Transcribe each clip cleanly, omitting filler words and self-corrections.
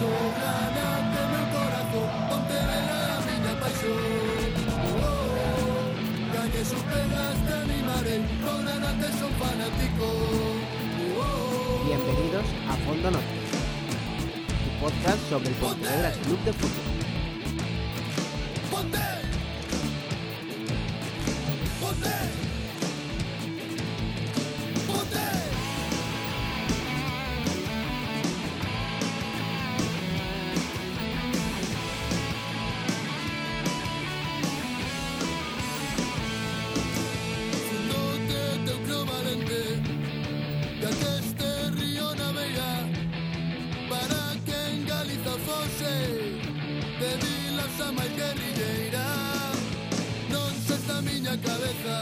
paixo, granate meu corazón, Pontevedra é a miña paixón. Gañes ou pegas te animarei, co granate son fanático. Bienvenidos a Fondo Norte, tu podcast sobre el Pontevedra Club de Fútbol. Ponte! Ponte! Ponte! Fundote teu creo valente, da que este río navega, para que en Galiza fose de vilas a máis guerrilleira. Non se está a miña cabeza,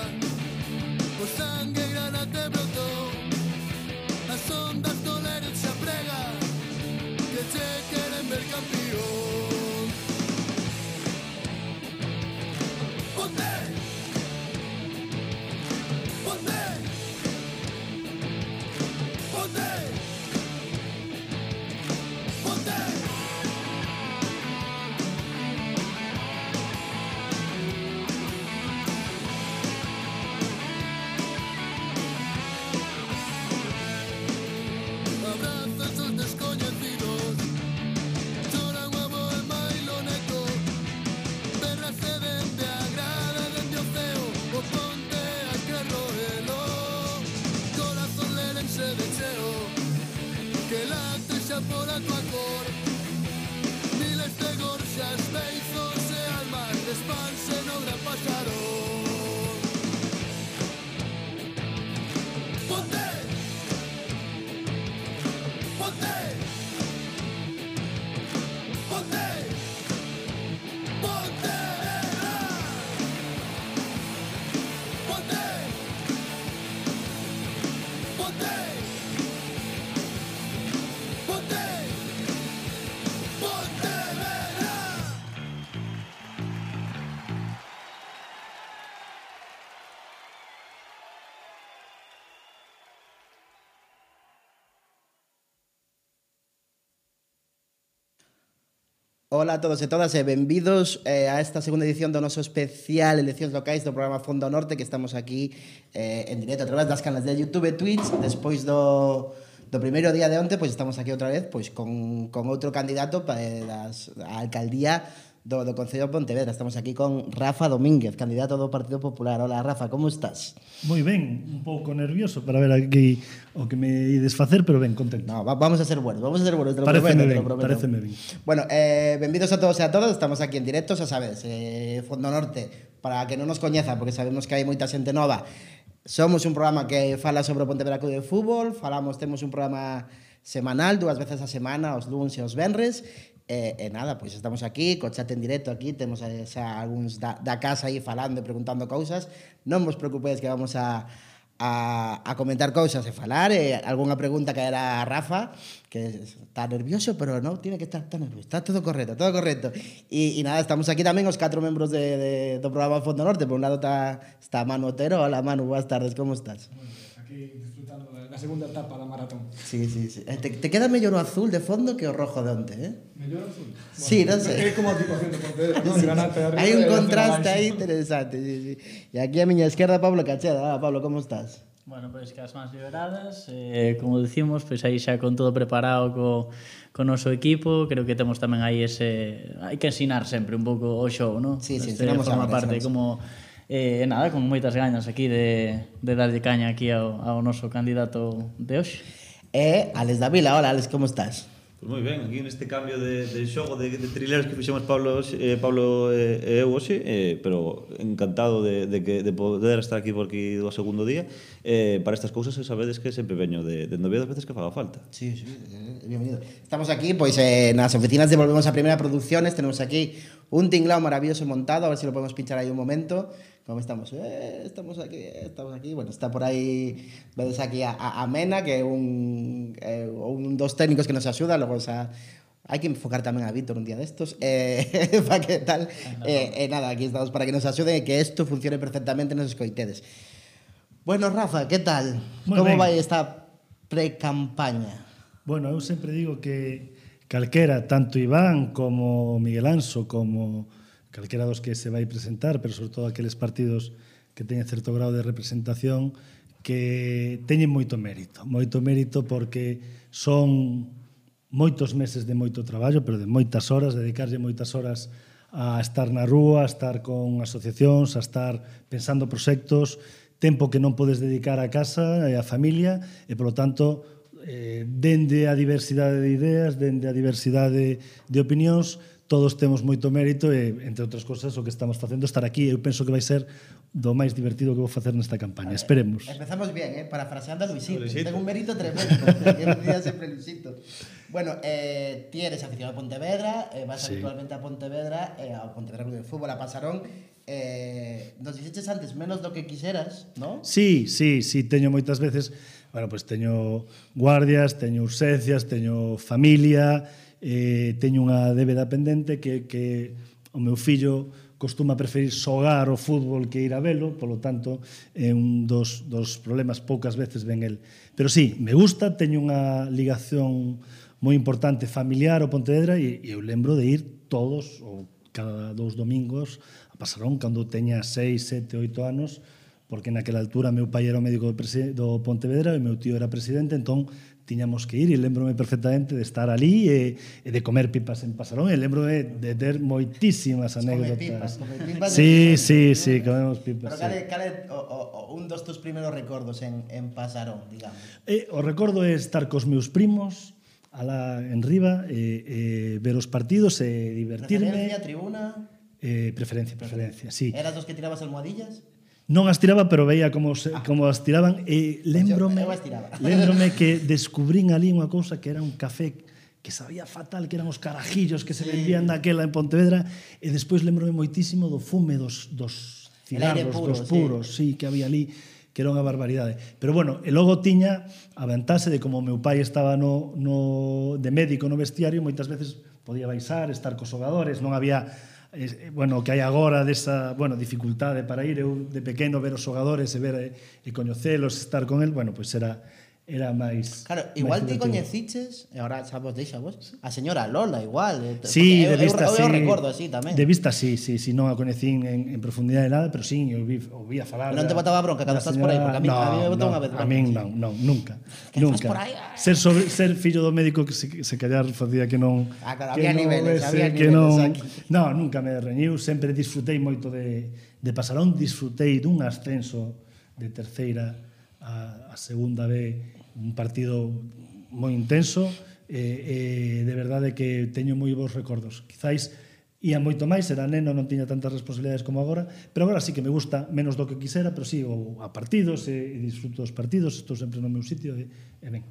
o sangue granate brotou, as ondas do Lérez se aprega, que che queren ver campeón. Ponte! Ponte! Ponte! Ponte! Abrazos os descoñecidos, choran o avó e mailo neto, berrase dende a grada, dende o ceo, o ponte a Carroelo, corazón lérense de cheo, que late xa por a tua cor, miles de gorxas, beizos e almas despanse no gran pasarón. Ponte! Ponte! Ponte! Pontevedra! Ponte! Ponte! Ponte! Pontevedra! Ola a todos e todas e benvidos a esta segunda edición do noso especial Eleccións Locais do programa Fondo Norte, que estamos aquí en directo a través das canales de YouTube e Twitch. Despois do primeiro día de onte, pois estamos aquí outra vez pois con outro candidato a alcaldía do Concello de Pontevedra. Estamos aquí con Rafa Domínguez, candidato do Partido Popular. Hola Rafa, como estás? Moi ben, un pouco nervioso para ver aquí o que me ides facer, pero ben, contento. No, vamos a ser buenos, te lo Paréceme prometo. paréceme ben. Bueno, benvidos a todos e a todas, estamos aquí en directo, xa sabes, Fondo Norte, para que non nos coñeza, porque sabemos que hai moita xente nova. Somos un programa que fala sobre o Pontevedra Club de Fútbol, temos un programa semanal, 2 veces a semana, os luns e os venres, e nada, pois estamos aquí, co chat en directo aquí, temos xa algúns da casa aí falando e preguntando cousas. Non vos preocupedes que vamos a comentar cousas e falar, algunha pregunta que era a Rafa, que está nervioso, pero non tiene que estar tan nervioso, está todo correcto. E nada, estamos aquí tamén os 4 membros do programa Fondo Norte. Por un lado está Manu Otero. Hola Manu, boas tardes, como estás? Muy bien, aquí disfrutando da segunda etapa da maratón. Sí. Te queda mellor o azul de fondo que o rojo de onte, eh? Mellor azul. Sí, non sei. É como a equipación de Pontevedra, non? Granate arriba. Hai un e azul contraste abaixo. aí interesante, sí. E aquí a miña esquerda Pablo Cacheda. Hola Pablo, como estás? Bueno, pois que as mans liberadas, como dicimos, pois aí xa con todo preparado co noso equipo, creo que temos tamén aí hai que ensinar sempre un pouco o show, non? Sí, ensinamos forma agora, parte ensinamos. como nada, con moitas gañas aquí de darlle caña aquí ao noso candidato de hoxe. E Alex Davila. Hola Alex, como estás? Pues moi ben, aquí neste cambio de xogo de trileros que fixemos Pablo e eu hoxe, pero encantado de poder estar aquí por aquí do segundo día. Para estas cousas sabedes que sempre veño de Oviedo as veces que faga falta. Sí, bienvenido. Estamos aquí, pois, nas oficinas de Volvemos a Primera Producciones. Tenemos aquí un tinglao maravilloso montado, a ver si lo podemos pinchar aí un momento. ¿Cómo estamos? Estamos aquí. Bueno, está por aí, vedes aquí a Mena, que é un dos técnicos que nos axuda. Logo, hai que enfocar tamén a Víctor un día destos. Para que tal. Nada, aquí estamos para que nos axude e que isto funcione perfectamente nos escoitedes. Bueno, Rafa, ¿qué tal? Muy Como ben. vai esta pre-campaña? Bueno, eu sempre digo que calquera, tanto Iván como Miguel Anso, como calquera dos que se vai presentar, pero sobre todo aqueles partidos que teñen certo grado de representación, que teñen moito mérito porque son moitos meses de moito traballo, pero de moitas horas, dedicarlle moitas horas a estar na rúa, a estar con asociacións, a estar pensando proxectos, tempo que non podes dedicar á casa e á familia, e, polo tanto, dende a diversidade de ideas, dende a diversidade de opinións, todos temos moito mérito e, entre outras cosas, o que estamos facendo estar aquí. Eu penso que vai ser do máis divertido que vou facer nesta campaña. Esperemos. Empezamos bien, parafraseando a Luisito. Ten un mérito tremendo, que decía sempre Luisito. Bueno, ti eres aficionado a Pontevedra, vas habitualmente a Pontevedra, ao Pontevedra Club de Fútbol, a Pasarón. Nos dixeches antes menos do que quixeras, non? Sí, teño moitas veces, bueno, pues teño guardias, teño urxencias, teño familia, teño unha débeda pendente que o meu fillo costuma preferir xogar o fútbol que ir a velo, polo tanto, é un dos problemas, poucas veces ven el. Pero sí, me gusta, teño unha ligación moi importante familiar ao Pontevedra e eu lembro de ir todos ou cada 2 domingos a Pasarón cando teña 6, 7, 8 anos, porque naquela altura meu pai era o médico do Pontevedra e meu tío era presidente, entón tiñamos que ir e lembro-me perfectamente de estar ali e de comer pipas en Pasarón e lembro-me de ter moitísimas anécdotas. Come pipas. Sí, comemos pipas. Pero cal é un dos tus primeiros recordos en Pasarón, digamos? O recordo é estar cos meus primos alá en riba, ver os partidos e divertirme. Preferencia, tribuna? Preferencia, sí. Eras dos que tirabas almohadillas? Non as tiraba, pero veía como as tiraban e lembrome que descubrín ali unha cousa que era un café que sabía fatal, que eran os carajillos que se vendían naquela en Pontevedra, e despois lembrome moitísimo do fume dos cigarros, dos puros, sí, que había ali, que era unha barbaridade. Pero bueno, e logo tiña a vantaxe de como o meu pai estaba de médico no vestiario, moitas veces podía baixar, estar cos xogadores, non había bueno, que hai agora desa, bueno, dificultade para ir, eu de pequeno ver os xogadores e ver e coñecelos, estar con el, bueno, pois era máis. Claro, igual ti coñeciches, e agora xa vos deixa vos, a señora Lola igual. Sí, de vista sí. Eu recordo así tamén. De vista sí, non a coñecín en profundidade nada, pero sí, eu vi a falar. Pero non te botaba bronca cando estás por aí, porque a mí me botou unha vez. A min non, nunca. Que estás por aí. Ser fillo do médico que se callar facía que non. Claro, había niveles aquí. Non, nunca me reñiu, sempre disfrutei moito de Pasarón, disfrutei dun ascenso de terceira a segunda B, un partido moi intenso e de verdade que teño moi bons recordos. Quizáis ia moito máis, era neno, non tiña tantas responsabilidades como agora, pero agora sí que me gusta menos do que quisera, pero sí, a partidos e disfruto dos partidos, estou sempre no meu sitio e ben.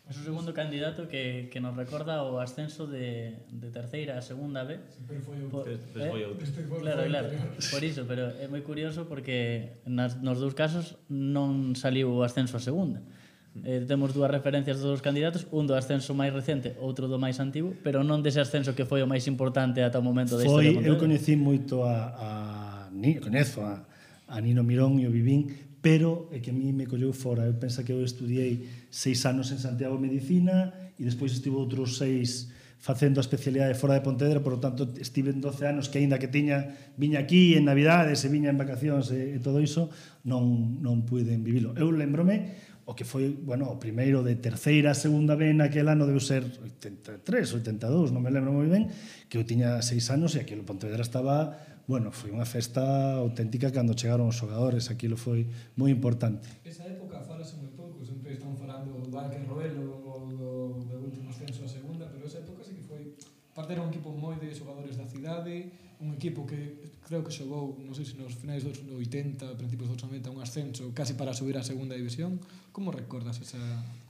É o segundo candidato que nos recorda o ascenso de terceira a segunda B. Pero foi outro. Claro. Por iso, pero é moi curioso porque nos dous casos non saliu o ascenso a segunda. Temos dúas referencias dos candidatos, un do ascenso máis recente, outro do máis antigo, pero non dese ascenso que foi o máis importante ata o momento da historia de Pontevedra. Eu coñecí moito coñezo a Nino Mirón e o Vivín, pero é que a mí me colleu fora. Eu penso que eu estudiei 6 anos en Santiago Medicina e despois estive outros 6 facendo a especialidade fora de Pontevedra, por lo tanto estive en 12 anos que aínda que viña aquí en Navidades e viña en vacacións e todo iso, non puiden vivilo. Eu lembrome o que foi, bueno, o primeiro de terceira a segunda B naquel ano debe ser 83, 82, non me lembro moi ben, que eu tiña 6 anos e aquilo Pontevedra estaba, bueno, foi unha festa auténtica cando chegaron os xogadores, aquilo foi moi importante. Esa época falase moi pouco, sempre están falando do Arque Roelo ou do último ascenso a segunda, pero esa época sí que foi, parte era un equipo moi de xogadores da cidade, un equipo que creo que xogou, non sei se nos finais dos 80, principios dos 90, un ascenso casi para subir a segunda división. Como recordas esa?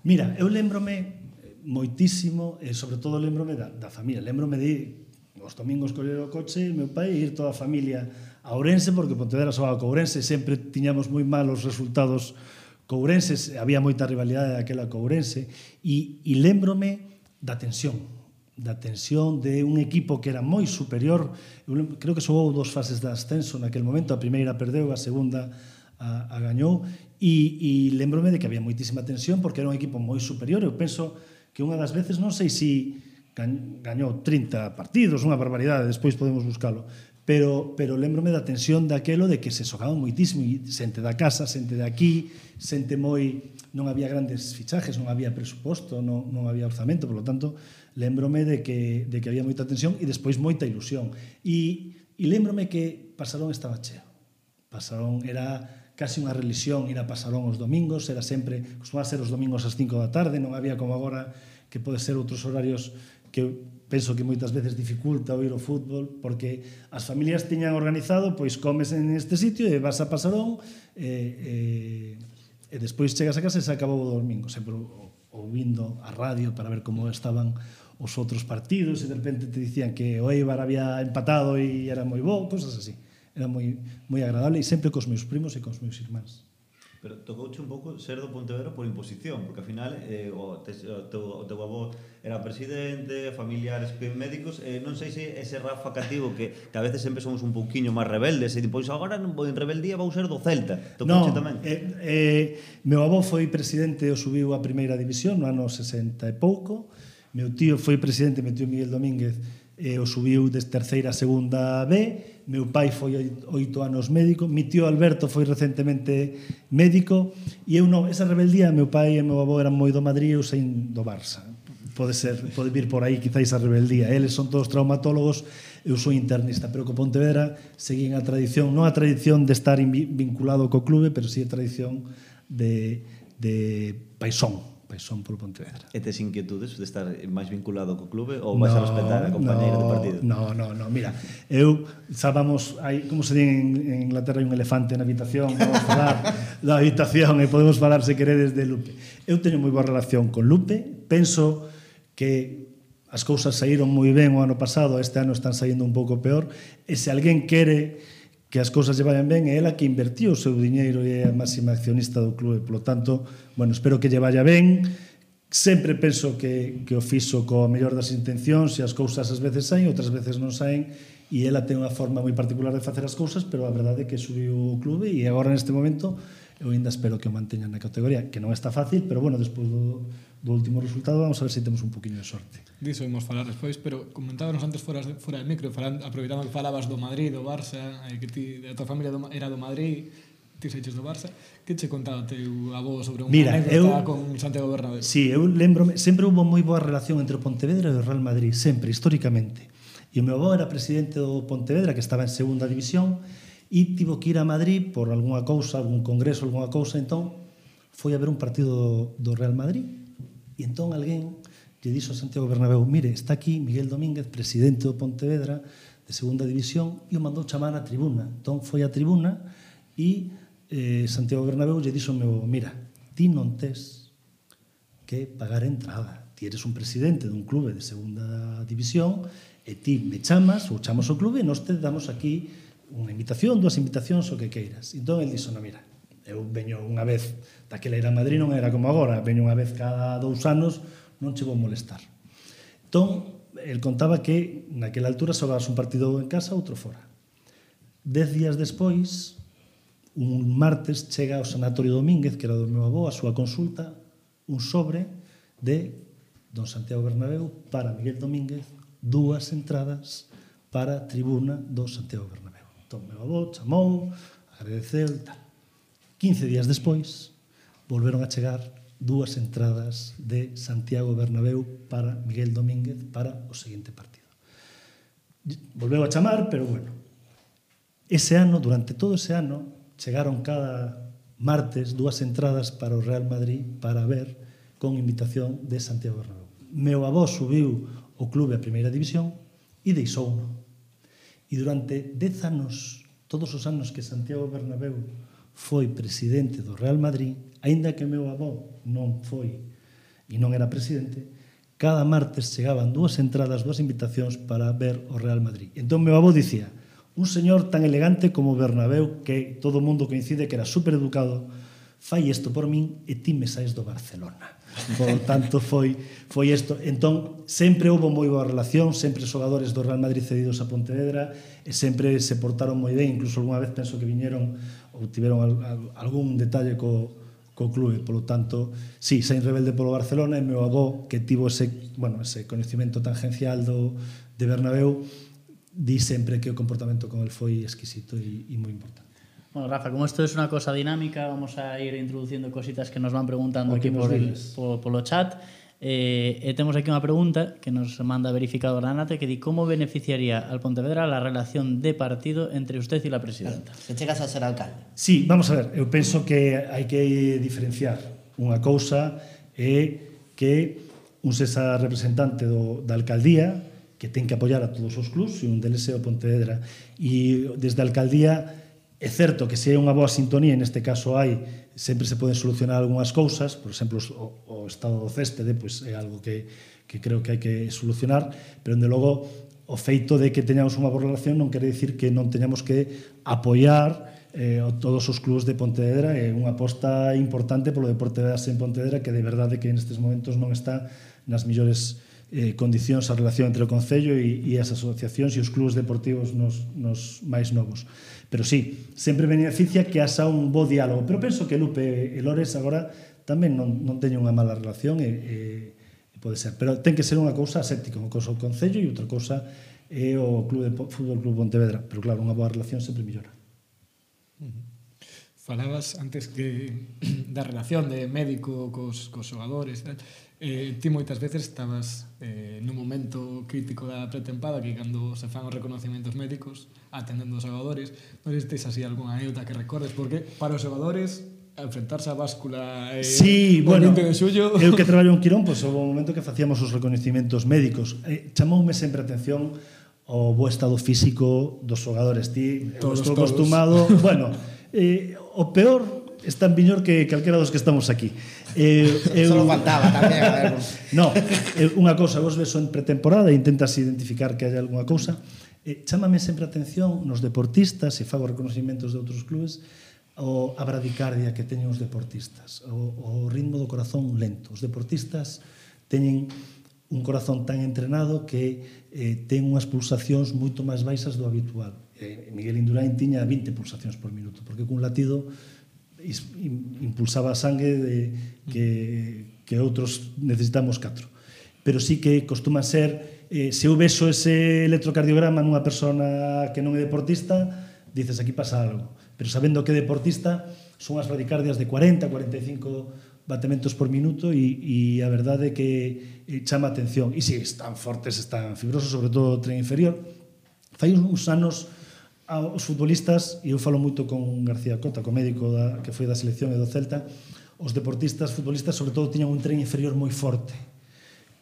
Mira, eu lembrome moitísimo, e sobre todo lembrome da familia. Lembrome de os domingos coller o coche, meu pai, e ir toda a familia a Ourense, porque Pontevedra xogaba co Ourense, sempre tiñamos moi malos resultados co Ourense, había moita rivalidade daquela co Ourense, e lembrome da tensión de un equipo que era moi superior. Eu creo que xogou 2 fases de ascenso naquel momento, a primeira perdeu, a segunda a gañou, e lembrome de que había moitísima tensión porque era un equipo moi superior. Eu penso que unha das veces, non sei se gañou 30 partidos, unha barbaridade, despois podemos buscalo. Pero lembrome da tensión daquelo de que se xogaban moitísimo, e xente da casa, xente de aquí, xente moi... Non había grandes fichajes, non había presuposto, non había orzamento, por lo tanto, lembrome de que había moita tensión e despois moita ilusión. E lembrome que Pasarón estaba cheo. Pasarón era casi unha religión ir a Pasarón os domingos, era sempre, costumaba ser os domingos ás 5 da tarde, non había como agora que pode ser outros horarios que penso que moitas veces dificulta o ir ao fútbol, porque as familias tiñan organizado, pois comes en este sitio e vas a Pasarón e despois chegas a casa e se acabou o domingo, sempre ouvindo a radio para ver como estaban os outros partidos e de repente te dicían que o Eibar había empatado e era moi bo, cosas así. Era moi agradable e sempre cos meus primos e cos meus irmáns. Pero tocouche un pouco ser do Pontevedra por imposición, porque ao final o teu avó era presidente, familiares médicos, non sei se ese Rafa cativo que a veces sempre somos un pouquiño máis rebeldes e depois agora en rebeldía vou ser do Celta. Tocouche tamén? Meu avó foi presidente e o subiu a primeira división no ano 60 e pouco. Meu tío foi presidente, meu tío Miguel Domínguez, e o subiu des terceira a segunda B. Meu pai foi 8 anos médico, mi tío Alberto foi recentemente médico, e eu non, esa rebeldía, meu pai e meu avó eran moi do Madrid, eu sein do Barça. Pode vir por aí quizáis a rebeldía. Eles son todos traumatólogos, eu sou internista, pero co Pontevedra seguín a tradición, non a tradición de estar vinculado co clube, pero si a tradición de paixón polo Pontevedra. E tes inquietudes de estar máis vinculado co clube ou vais a respetar a compañeira de partido? No, mira, eu sabamos, como se di en Inglaterra, hai un elefante na habitación, vamos falar da habitación e podemos falar se queredes de Lupe. Eu teño moi boa relación con Lupe, penso que as cousas saíron moi ben o ano pasado, este ano están saindo un pouco peor, e se alguén quere que as cousas lle vayan ben, é ela que invertiu o seu diñeiro e é a máxima accionista do clube. Por lo tanto, bueno, espero que lle vaya ben. Sempre penso que o fixo coa mellor das intencións e as cousas ás veces saen, outras veces non saen, e ela ten unha forma moi particular de facer as cousas, pero a verdade é que subiu o clube e agora neste momento eu ainda espero que o manteñan na categoría, que non está fácil, pero bueno, despois do último resultado vamos a ver se temos un poquinho de sorte. Diso vamos falar despois, pero comentábamos antes fora do micro, aproveitando que falabas do Madrid, do Barça, que a tua familia era do Madrid, ti seiches do Barça, que che contaba teu avó sobre unha anécdota con Santiago Bernabéu? Sí, eu lembrome, sempre houve moi boa relación entre o Pontevedra e o Real Madrid, sempre, históricamente. E o meu avó era presidente do Pontevedra, que estaba en segunda división, e tivo que ir a Madrid por algunha cousa, algún congreso, algunha cousa, entón foi a ver un partido do Real Madrid. E entón alguén lle dixo a Santiago Bernabéu: mire, está aquí Miguel Domínguez, presidente do Pontevedra de segunda división, e o mandou chamar á tribuna. Entón foi á tribuna e Santiago Bernabéu lle dixo: mira, ti non tes que pagar entrada, ti eres un presidente dun clube de segunda división e ti me chamas ou chamos ao clube e nós te damos aquí unha invitación, 2 invitacións, o que queiras. Entón el dixo: no, mira, eu veño unha vez, daquela era Madrid, non era como agora, veño unha vez cada 2 anos, non che vou molestar. Entón, el contaba que naquela altura xogabas un partido en casa, outro fora. 10 días despois, un martes, chega ao Sanatorio Domínguez, que era do meu avó, a súa consulta, un sobre de don Santiago Bernabéu para Miguel Domínguez, 2 entradas para a tribuna do Santiago Bernabéu. Entón, meu avó chamou, agradeceu e tal. 15 días despois, volveron a chegar 2 entradas de Santiago Bernabéu para Miguel Domínguez para o seguinte partido. Volveu a chamar, pero bueno, ese ano, durante todo ese ano, chegaron cada martes 2 entradas para o Real Madrid para ver con invitación de Santiago Bernabéu. Meu avó subiu o clube a primeira división e deixouno. E durante 10 anos, todos os anos que Santiago Bernabéu foi presidente do Real Madrid, aínda que meu avó non foi e non era presidente, cada martes chegaban 2 entradas, 2 invitacións para ver o Real Madrid. Entón meu avó dicía: un señor tan elegante como Bernabéu, que todo o mundo coincide que era supereducado, fai isto por min e ti me saes do Barcelona. Por tanto, foi isto. Entón, sempre houve moi boa relación, sempre xogadores do Real Madrid cedidos a Pontevedra, e sempre se portaron moi ben, incluso algunha vez penso que viñeron ou tiveron algún detalle co co clube, polo tanto, sí, saín rebelde polo Barcelona e meu avó, que tivo ese coñecemento tangencial de Bernabéu, di sempre que o comportamento con el foi exquisito e moi importante. Bueno, Rafa, como esto es una cosa dinámica, vamos a ir introduciendo cositas que nos van preguntando O que aquí nos digas. polo chat. Temos aquí unha pregunta que nos manda verificador da Nate que di como beneficiaría al Pontevedra la relación de partido entre usted y la presidenta. Se chegas a ser alcalde. Sí, vamos a ver, eu penso que hai que diferenciar. Unha cousa é que un sexa representante da alcaldía que ten que apoiar a todos os clubs e un deles é o Pontevedra. E desde a alcaldía é certo que se hai unha boa sintonía, neste caso hai, sempre se poden solucionar algunhas cousas, por exemplo, o estado do céspede, pois é algo que creo que hai que solucionar, pero, dende logo, o feito de que teñamos unha boa relación non quere dicir que non teñamos que apoiar todos os clubs de Pontevedra. É unha aposta importante polo deporte de base en Pontevedra que de verdade que nestes momentos non está nas millores condicións a relación entre o Concello e as asociacións e os clubs deportivos nos máis novos. Pero sí, sempre beneficia que haxa un bo diálogo. Pero penso que Lupe e Lores agora tamén non teñen unha mala relación e pode ser. Pero ten que ser unha cousa aséptica, unha cousa o Concello e outra cousa é o Fútbol Club Pontevedra. Pero claro, unha boa relación sempre mellora. Falabas antes que da relación de médico cos xogadores, tal. Ti moitas veces estabas nun momento crítico da pretempada, que cando se fan os reconocimientos médicos atendendo os xogadores, non sei se tes así algunha anécdota que recordes, porque para os xogadores enfrentarse á báscula sí, bueno, 20 de xullo... Eu que traballo en Quirón, pois, houve un momento que facíamos os reconocimientos médicos. Chamoume sempre a atención o bo estado físico dos xogadores. Ti, eu estou acostumado... Bueno, o peor está en Viñor que calquera dos que estamos aquí. Solo faltaba tamén, a ver. No, unha cousa, vos ves en pretemporada e intentas identificar que hai algunha cousa. Chámame sempre a atención nos deportistas, e fago reconocimientos de outros clubes, a bradicardia que teñen os deportistas, o ritmo do corazón lento. Os deportistas teñen un corazón tan entrenado que ten unhas pulsacións moito máis baixas do habitual. Miguel Indurain tiña 20 pulsacións por minuto, porque cun latido impulsaba a sangue que outros necesitamos 4. Pero sí que costuma ser, se eu vexo ese electrocardiograma nunha persona que non é deportista, dices aquí pasa algo. Pero sabendo que é deportista, son as bradicardias de 40, 45 batementos por minuto e a verdade é que chama a atención. E si están fortes, están fibrosos, sobre todo o tren inferior. Fai uns anos os futbolistas, e eu falo moito con García Cota, co médico que foi da selección e do Celta, os deportistas, futbolistas, sobre todo, tiñan un tren inferior moi forte.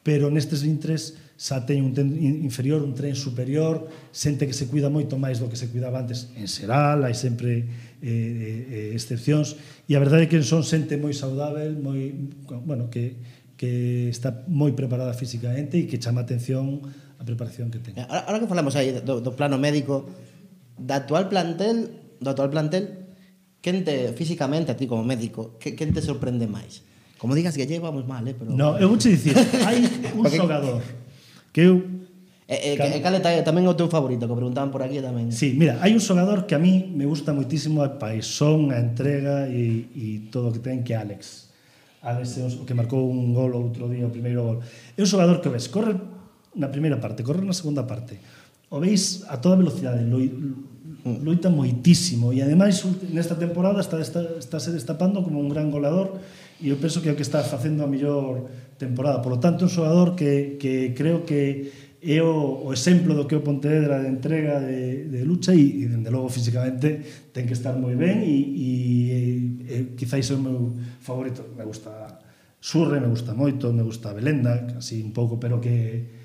Pero nestes intres xa teñen un tren inferior, un tren superior, xente que se cuida moito máis do que se cuidaba antes. En xeral, hai sempre excepcións, e a verdade é que son xente moi saudável, moi, bueno, que está moi preparada físicamente e que chama a atención a preparación que ten. Ahora que falamos aí do plano médico, do actual plantel, quen te, físicamente, a ti como médico, quen te sorprende máis? Como digas que vamos mal, pero... No, eu vou te dicir, hai un xogador que eu... Cale tamén o teu favorito, que preguntaban por aquí tamén. Sí, mira, hai un xogador que a mí me gusta moitísimo a paixón, a entrega e todo o que ten, que é Alex. Alex é o que marcou un gol outro día, o primeiro gol. É un xogador que ves, corre na primeira parte, corre na segunda parte. O veis a toda velocidade, loita moitísimo e ademais nesta temporada está se destapando como un gran goleador e eu penso que é o que está facendo a mellor temporada. Por lo tanto, un xogador que creo que é o exemplo do que é o Pontevedra de entrega, de lucha e dende logo físicamente ten que estar moi ben e quizáis é o meu favorito. Me gusta Surre, me gusta moito, me gusta Belenda, así un pouco, pero que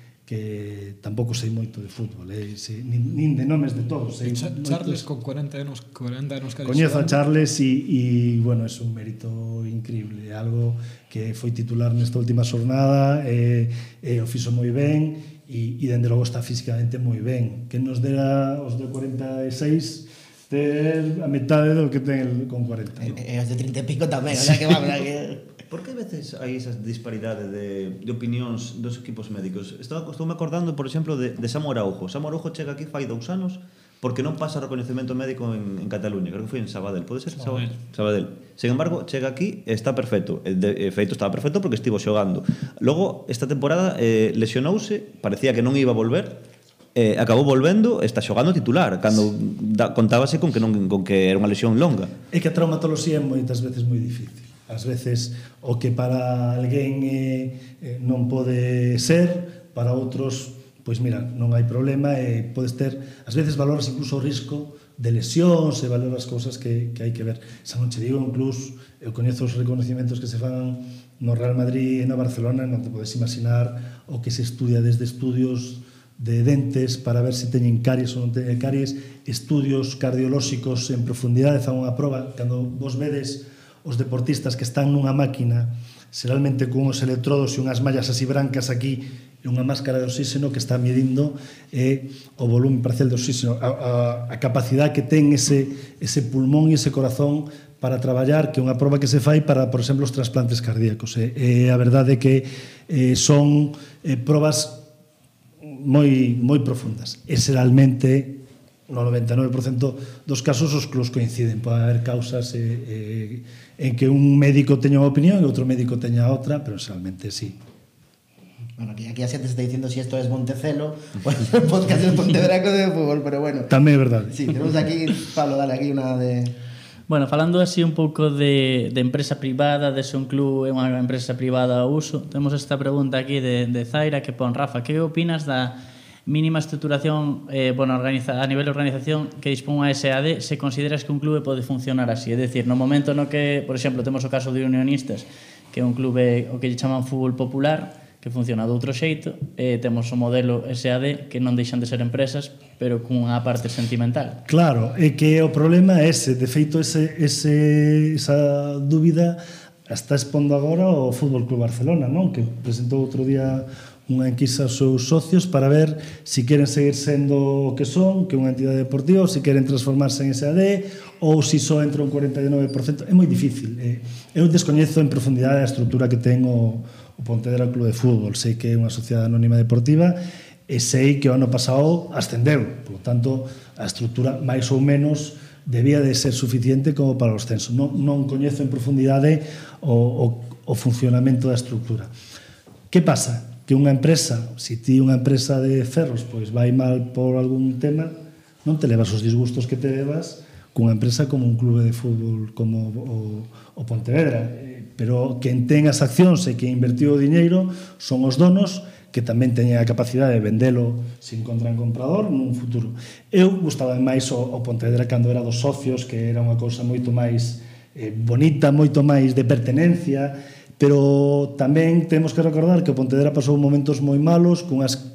tampouco sei moito de fútbol, nin de nomes de todos. Charles con 40 anos coñezo a Charles e bueno, é un mérito increíble, algo que foi titular nesta última xornada, o fixo moi ben e dende logo está físicamente moi ben. Que nos dera os de 46 ter a metade do que ten con 40. E os de 30 e pico tamén, o sea que vamos aquí. Por que a veces hai esa disparidade de opinións dos equipos médicos? Estou me acordando, por exemplo, de Samu Araujo. Samu Araujo chega aquí fai 2 anos porque non pasa reconhecemento médico en Cataluña, creo que foi en Sabadell, pode ser? Sabadell. Sin embargo, chega aquí e está perfecto. De feito, estaba perfecto porque estivo xogando. Logo, esta temporada lesionouse, parecía que non iba a volver, acabou volvendo, está xogando titular, cando contábase con que era unha lesión longa. É que a traumatoloxía é moitas veces moi difícil. Ás veces, o que para alguén non pode ser, para outros, pois mira, non hai problema e podes ter, ás veces valoras incluso o risco de lesións e valoras cousas que hai que ver. Xa non che digo, incluso, eu coñezo os reconocimientos que se fan no Real Madrid e no Barcelona, non te podes imaginar o que se estudia desde estudios de dentes para ver se teñen caries ou non teñen caries, estudios cardiolóxicos en profundidade, fan unha proba, cando vos vedes os deportistas que están nunha máquina, xeralmente con os electrodos e unhas mallas así brancas aquí, e unha máscara de oxígeno que está medindo o volume parcial de oxígeno, a capacidade que ten ese pulmón e ese corazón para traballar, que é unha proba que se fai para, por exemplo, os trasplantes cardíacos. A verdade é que son probas moi profundas. E xeralmente, no 99% dos casos, os clubs coinciden. Pode haber causas en que un médico teña unha opinión e outro médico teña outra, pero xeralmente sí. Bueno, aquí a xente está dicindo si esto es Montecelo o el podcast del Pontevedra de Fútbol, pero bueno. Tamén é verdade. Sí, tenemos aquí, Pablo, dale aquí unha de... Bueno, falando así un pouco de empresa privada, de se un club é unha empresa privada ao uso, temos esta pregunta aquí de Zaira que pon: Rafa, que opinas da mínima estructuración a nivel de organización que dispón a SAD, se consideras que un clube pode funcionar así? É dicir, no momento no que, por exemplo, temos o caso de Unionistas, que é un clube o que lle chaman fútbol popular, que funciona de outro xeito, e temos o modelo SAD, que non deixan de ser empresas, pero cunha parte sentimental. Claro, é que o problema é ese. De feito, esa dúbida está expondo agora o Fútbol Club Barcelona, non? Que presentou outro día unha enquisa aos seus socios para ver se queren seguir sendo o que son, que é unha entidade deportiva, ou se queren transformarse en SAD, ou se só entra un 49%. É moi difícil. Eu descoñezo en profundidade a estrutura que ten o Pontevedra Club de Fútbol. Sei que é unha sociedade anónima deportiva e sei que o ano pasado ascendeu. Por lo tanto, a estrutura máis ou menos debía de ser suficiente como para o ascenso. Non coñezo en profundidade o funcionamento da estrutura. Que pasa? Que unha empresa, se ti unha empresa de ferros pois vai mal por algún tema, non te levas os disgustos que te levas cunha empresa como un clube de fútbol como o Pontevedra, pero quen ten as accións e que invertiu o diñeiro son os donos, que tamén teñen a capacidade de vendelo se encontran comprador nun futuro. Eu gustaba máis o Pontevedra cando era dos socios, que era unha cousa moito máis bonita, moito máis de pertenencia, pero tamén temos que recordar que o Pontevedra pasou momentos moi malos, cunhas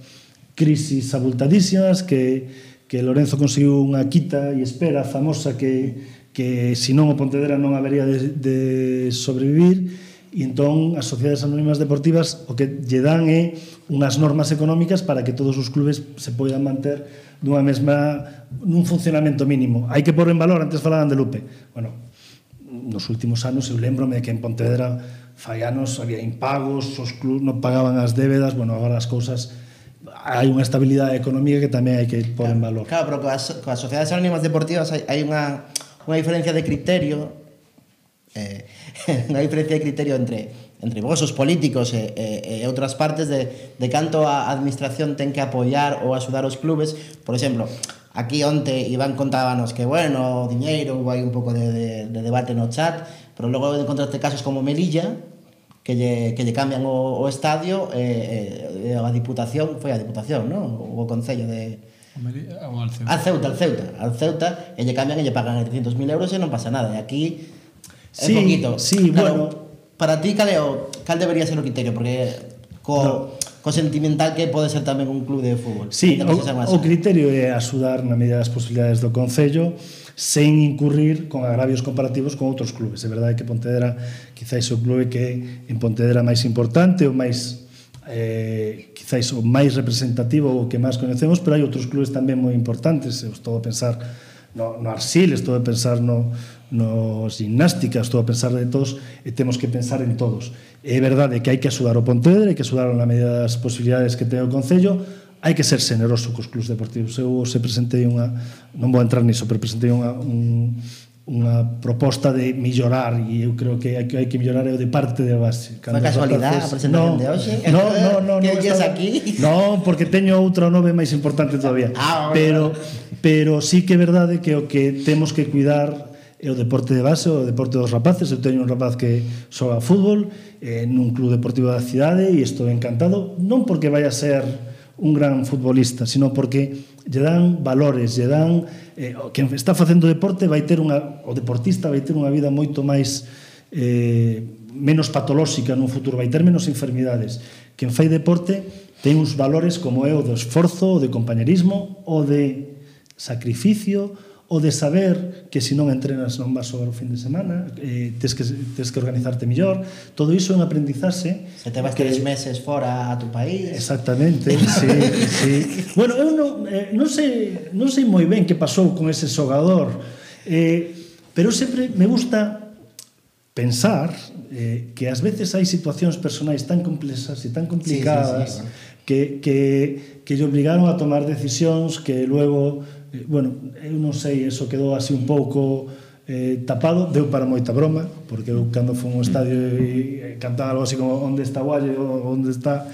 crisis abultadísimas, que Lorenzo conseguiu unha quita e espera famosa que senón o Pontevedra non habería de sobrevivir, e entón as sociedades anónimas deportivas o que lle dan é unhas normas económicas para que todos os clubes se poidan manter nun funcionamento mínimo. Hai que pôr en valor, antes falaban de Lupe. Bueno, nos últimos anos eu lembrome que en Pontevedra fai anos había impagos, os clubes non pagaban as débedas, bueno, agora as cousas hai unha estabilidade económica que tamén hai que pôr en valor. Claro, pero coas sociedades anónimas deportivas hai unha diferencia de criterio, unha diferencia de criterio entre vos, os políticos e outras partes de canto a administración ten que apoiar ou axudar os clubes. Por exemplo, aquí onte Iván contábanos que, bueno, o diñeiro, hai un pouco de debate no chat, pero logo encontraste casos como Melilla, que lle cambian o estadio, a Diputación, foi a Diputación, non? O Concello de... Al Ceuta, e lle cambian e lle pagan 300.000 euros e non pasa nada. E aquí é poquito. Sí, claro, bueno. Para ti, cal debería ser o criterio? Porque co sentimental que pode ser tamén un club de fútbol. Sí, o criterio é axudar na medida das posibilidades do Concello sen incurrir con agravios comparativos con outros clubes. É verdade que Pontevedra quizáis o clube que en Pontevedra máis importante, o máis quizáis o máis representativo, o que máis coñecemos, pero hai outros clubes tamén moi importantes. Eu estou a pensar no Arsil, estou a pensar no Gimnástica, estou a pensar de todos, e temos que pensar en todos. É verdade que hai que axudar o Pontevedra, hai que axudar na medida das posibilidades que ten o Concello. hai que ser generoso cos clubs deportivos. Eu se presentei non vou entrar niso, pero presentei unha proposta de mellorar, e eu creo que hai que mellorar o de parte de base. Foi casualidade a presentación de hoxe? No, que vies aquí? No, porque teño outra nove máis importante todavía. Pero sí que é verdade que o que temos que cuidar é o deporte de base, o deporte dos rapaces. Eu teño un rapaz que xoga fútbol nun club deportivo da cidade e estou encantado, non porque vai a ser un gran futbolista, sino porque lle dan valores, lle dan quen está facendo deporte vai ter o deportista vai ter unha vida moito máis menos patolóxica nun futuro, vai ter menos enfermidades. Quen fai deporte ten uns valores como é o do esforzo, o de compañerismo, o de sacrificio, o de saber que se non entrenas non vas xogar o fin de semana, tes que organizarte mellor. Todo iso é un aprendizaxe. Se te vas 3 meses fora a tu país. Exactamente, sí. Bueno, eu non sei moi ben que pasou con ese xogador, pero sempre me gusta pensar que ás veces hai situacións personais tan complexas e tan complicadas que lle obrigaron a tomar decisións que luego bueno, eu non sei, eso quedou así un pouco tapado, deu para moita broma, porque eu cando fui a un estadio e cantaba algo así como onde está Gualle, onde está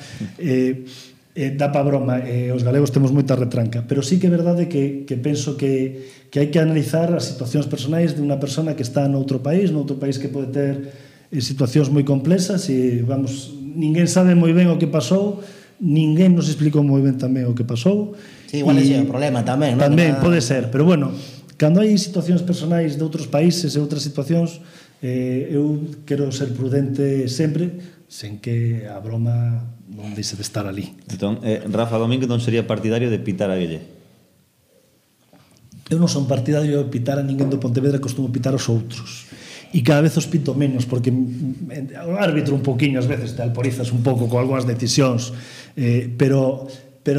dá para broma, os galegos temos moita retranca, pero sí que é verdade que penso que hai que analizar as situacións personais de unha persona que está noutro país que pode ter situacións moi complexas e, vamos, ninguén sabe moi ben o que pasou, ninguén nos explicou moi ben tamén o que pasou. Sí, igual é o problema tamén, non? Tamén pode ser, pero bueno, cando hai situacións personais de outros países e outras situacións, eu quero ser prudente sempre, sen que a broma non deixe de estar ali. Entón, Rafa Domínguez non sería partidario de pitar a Guille? Eu non son partidario de pitar a ninguén do Pontevedra, costumo pitar aos outros. E cada vez os pito menos, porque o árbitro un poquinho, ás veces te alporizas un pouco con algunhas decisións, pero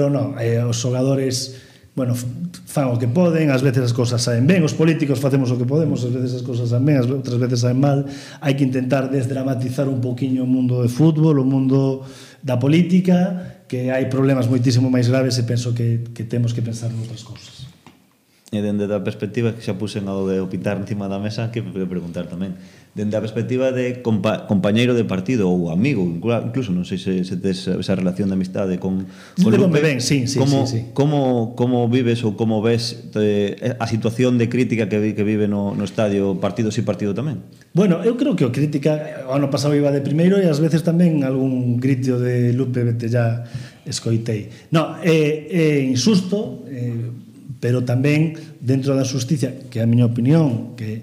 non, os xogadores, bueno, fan o que poden, ás veces as cousas saen ben, os políticos facemos o que podemos, ás veces as cousas saen ben, outras veces saen mal. Hai que intentar desdramatizar un poquinho o mundo do fútbol, o mundo da política, que hai problemas moitísimo máis graves e penso que temos que pensar noutras cousas. E dende a perspectiva que xa puxen ao de opitar encima da mesa, que me preguntar tamén, dende a perspectiva de compañeiro de partido ou amigo, incluso non sei se tes esa relación de amistade con Lupe, ben, sí. Como vives ou como ves a situación de crítica que vive no estadio, partido sí, partido tamén? Bueno, eu creo que o crítica, o ano pasado iba de primeiro e ás veces tamén algún grito de Lupe vete ya escoitei. No, é insusto, pero tamén dentro da xusticia, que é a miña opinión, que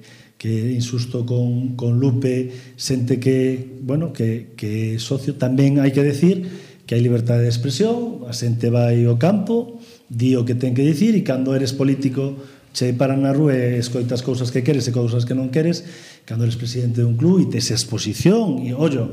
insusto con Lupe, sente que, bueno, que socio, tamén hai que decir que hai liberdade de expresión, a xente vai ao campo, di o que ten que dicir, e cando eres político che paran na rúa e escoitas cousas que queres e cousas que non queres, cando eres presidente dun club e tes exposición, e ollo,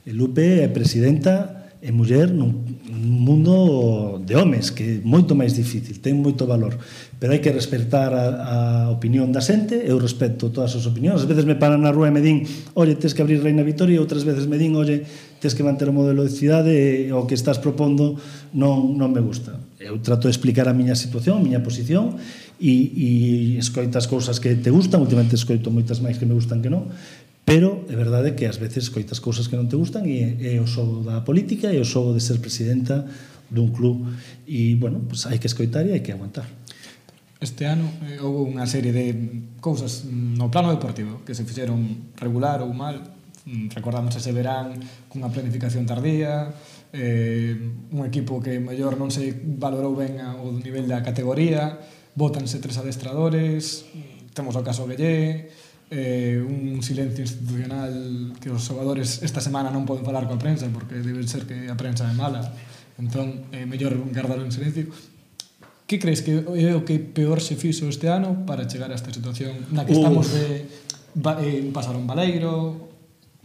Lupe é presidenta e muller nun mundo de homes, que é moito máis difícil, ten moito valor, pero hai que respetar a opinión da xente. Eu respeto todas as opinións. Ás veces me paran na rúa e me din, oye, tes que abrir Reina Vitoria, e outras veces me din, oye, tes que manter o modelo de cidade e o que estás propondo non me gusta. Eu trato de explicar a miña situación, a miña posición, e escoitas cousas que te gustan, últimamente escoito moitas máis que me gustan que non, pero é verdade que ás veces coitas cousas que non te gustan, e é o xogo da política e o xogo de ser presidenta dun club, e, bueno, pues hai que escoitar e hai que aguantar. Este ano houve unha serie de cousas no plano deportivo que se fixeron regular ou mal. Recordamos ese verán cunha planificación tardía, un equipo que mellor non se valorou ben o nivel da categoría, bótanse 3 adestradores, temos o caso Guellé, un silencio institucional que os xogadores esta semana non poden falar coa prensa porque debe ser que a prensa é mala, entón é mellor guardar en silencio. Que crees que é o que peor se fixo este ano para chegar a esta situación na que estamos de pasar un baleiro?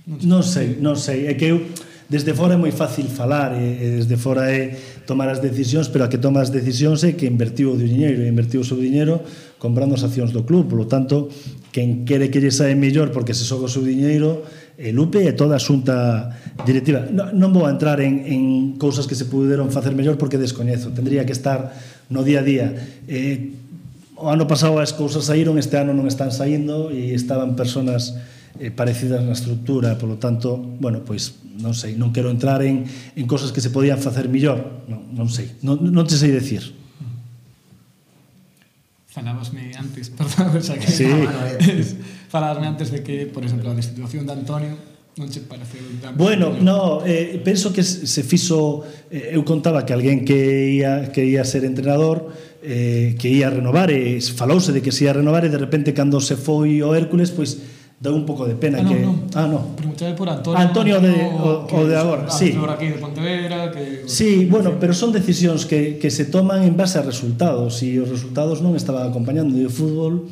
Non sei, é que eu desde fora é moi fácil falar e desde fora é tomar as decisións, pero a que toma as decisións é que invertiu o diñeiro, e invertiu o seu diñeiro comprando as accións do club, polo tanto quen quere que lle sae mellor porque se xoga o seu diñeiro, Lupe e toda a xunta directiva. Non vou a entrar en cousas que se puderon facer mellor porque descoñezo. Tendría que estar no día a día. O ano pasado as cousas saíron, este ano non están saindo e estaban personas parecidas na estructura, polo tanto, bueno, pois non sei, non quero entrar en cosas que se podían facer mellor, non sei, non te sei decir. Falábasme antes, perdón, xa que Sí. falábasme antes de que, por exemplo, a destitución de Antonio non che pareceu tan... Bueno, no, penso que se fixo, eu contaba que alguén que ia ser entrenador, que ia renovar, e falouse de que se ia renovar, e de repente cando se foi o Hércules, pois deu un pouco de pena que... non. Preguntade por Antonio. Antonio o de agora, sí. Aquí de Pontevedra, que... Sí, bueno, pero son decisións que se toman en base a resultados, e os resultados non estaban acompañando, e o fútbol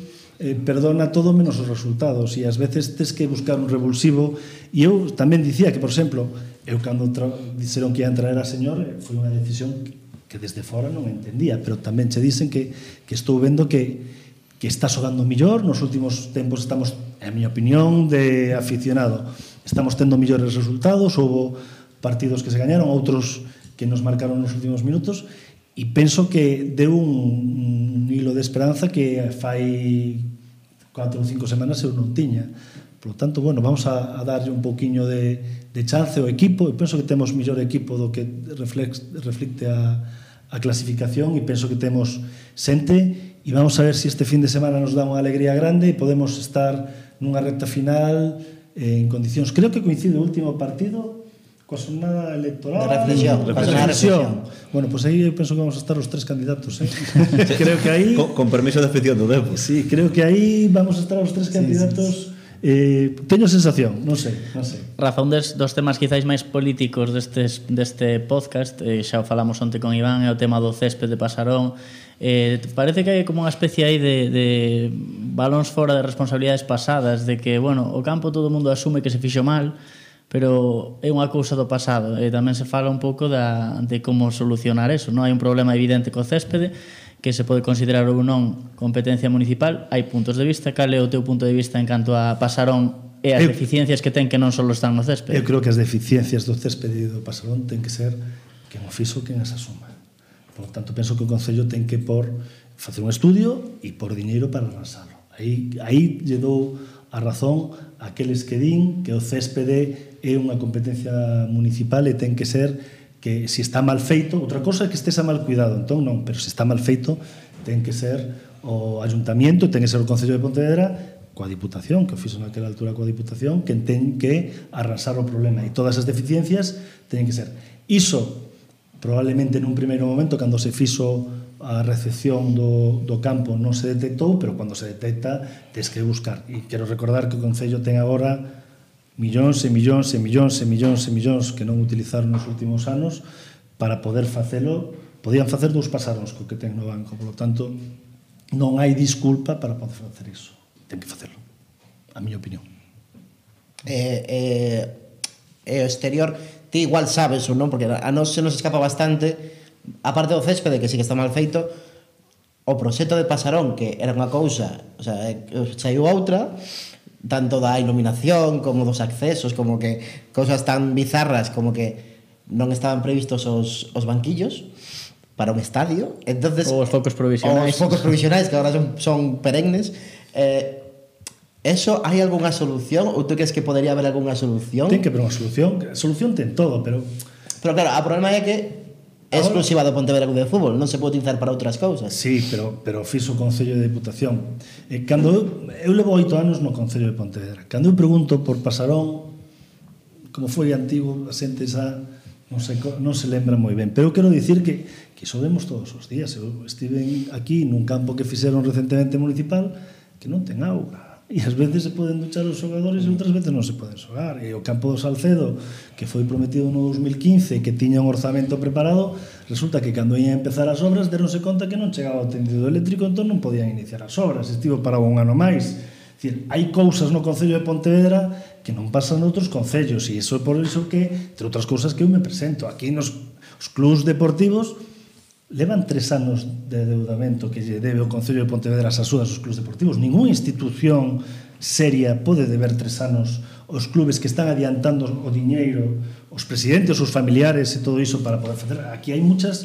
perdona todo menos os resultados, e ás veces tes que buscar un revulsivo. E eu tamén dicía que, por exemplo, eu cando dixeron que ia traer a señor, foi unha decisión que desde fora non entendía, pero tamén che dicen que estou vendo que está xogando millor. Nos últimos tempos estamos, en miña opinión, de aficionado, estamos tendo millores resultados. Houbo partidos que se gañaron, outros que nos marcaron nos últimos minutos, e penso que deu un hilo de esperanza que fai 4 ou 5 semanas eu non tiña. Por lo tanto, bueno, vamos a darlle un pouquiño de chance ao equipo, e penso que temos millor equipo do que reflecte a clasificación, e penso que temos xente, e vamos a ver se este fin de semana nos dá unha alegría grande e podemos estar nunha recta final en condicións. Creo que coincide o último partido coa xornada electoral De reflexión. Bueno, pois aí eu penso que vamos a estar os 3 candidatos, creo que aí con permiso de afición do Depor. sí, creo que aí vamos a estar os 3 candidatos. Teño sensación, non sei. Rafa, un dos temas quizáis máis políticos deste podcast, xa o falamos onte con Iván, é o tema do césped de Pasarón. Parece que hai como unha especie aí de balóns fora de responsabilidades pasadas, de que, bueno, o campo todo o mundo asume que se fixo mal, pero é unha cousa do pasado, e tamén se fala un pouco de como solucionar eso, non? Hai un problema evidente co céspede, que se pode considerar ou non competencia municipal. Hai puntos de vista. Cal é o teu punto de vista en canto a Pasarón e as deficiencias que ten, que non só están no céspede? Eu creo que as deficiencias do céspede e do Pasarón ten que ser quen o fixo, quen as asuma. Por lo tanto, penso que o Concello ten que facer un estudio e por diñeiro para arrasarlo. Aí lle dou a razón a aqueles que din que o céspede é unha competencia municipal e ten que ser que se está mal feito, outra cosa é que estés a mal cuidado, entón non, pero se está mal feito ten que ser o Ayuntamiento, ten que ser o Concello de Pontevedra coa Diputación, que o fixo naquela altura coa Diputación, que ten que arrasar o problema, e todas as deficiencias teñen que ser. Iso, probablemente nun primeiro momento, cando se fixo a recepción do campo, non se detectou, pero cando se detecta tens que buscar. E quero recordar que o Concello ten agora millóns e millóns e millóns e millóns e millóns que non utilizaron nos últimos anos para poder facelo. Podían facer 2 pasaróns co que ten no banco, por lo tanto non hai disculpa para poder facer iso. Ten que facelo, a miña opinión. O exterior, ti igual sabes ou non, porque a nos se nos escapa bastante, aparte do céspede, que sí que está mal feito, o proxecto de Pasarón, que era unha cousa, o sea, saiu outra, tanto da iluminación como dos accesos, como que cousas tan bizarras como que non estaban previstos os banquillos para un estadio. Entonces, ou os focos provisionais. Os focos provisionais, que agora son perennes. Eso, hai algunha solución? Ou tú crees que podería haber algunha solución? Ten que haber unha solución. A solución ten todo, pero... Pero claro, o problema é que é exclusiva do Pontevedra Club de Fútbol, non se pode utilizar para outras cousas. Sí, pero fixo o Concello de Diputación. Cando eu levo 8 anos no Concello de Pontevedra. Cando eu pregunto por Pasarón, como foi antigo, a xente xa non se lembra moi ben. Pero eu quero dicir que iso vemos todos os días. Eu estive aquí nun campo que fixeron recentemente municipal que non ten auga. E ás veces se poden duchar os xogadores e outras veces non se poden xogar. E o campo do Salcedo, que foi prometido no 2015, que tiña un orzamento preparado, resulta que cando ian empezar as obras deronse conta que non chegaba o tendido eléctrico, entón non podían iniciar as obras. Estivo para un ano máis. Dicir, hai cousas no Concello de Pontevedra que non pasan noutros concellos, e iso é por iso que, entre outras cousas, que eu me presento aquí nos clubs deportivos. Levan 3 anos de deudamento que lle debe o Concello de Pontevedra as axudas aos clubs deportivos. Ninguna institución seria pode deber 3 anos os clubes que están adiantando o diñeiro, os presidentes, os familiares e todo iso para poder facer. Aquí hai muchos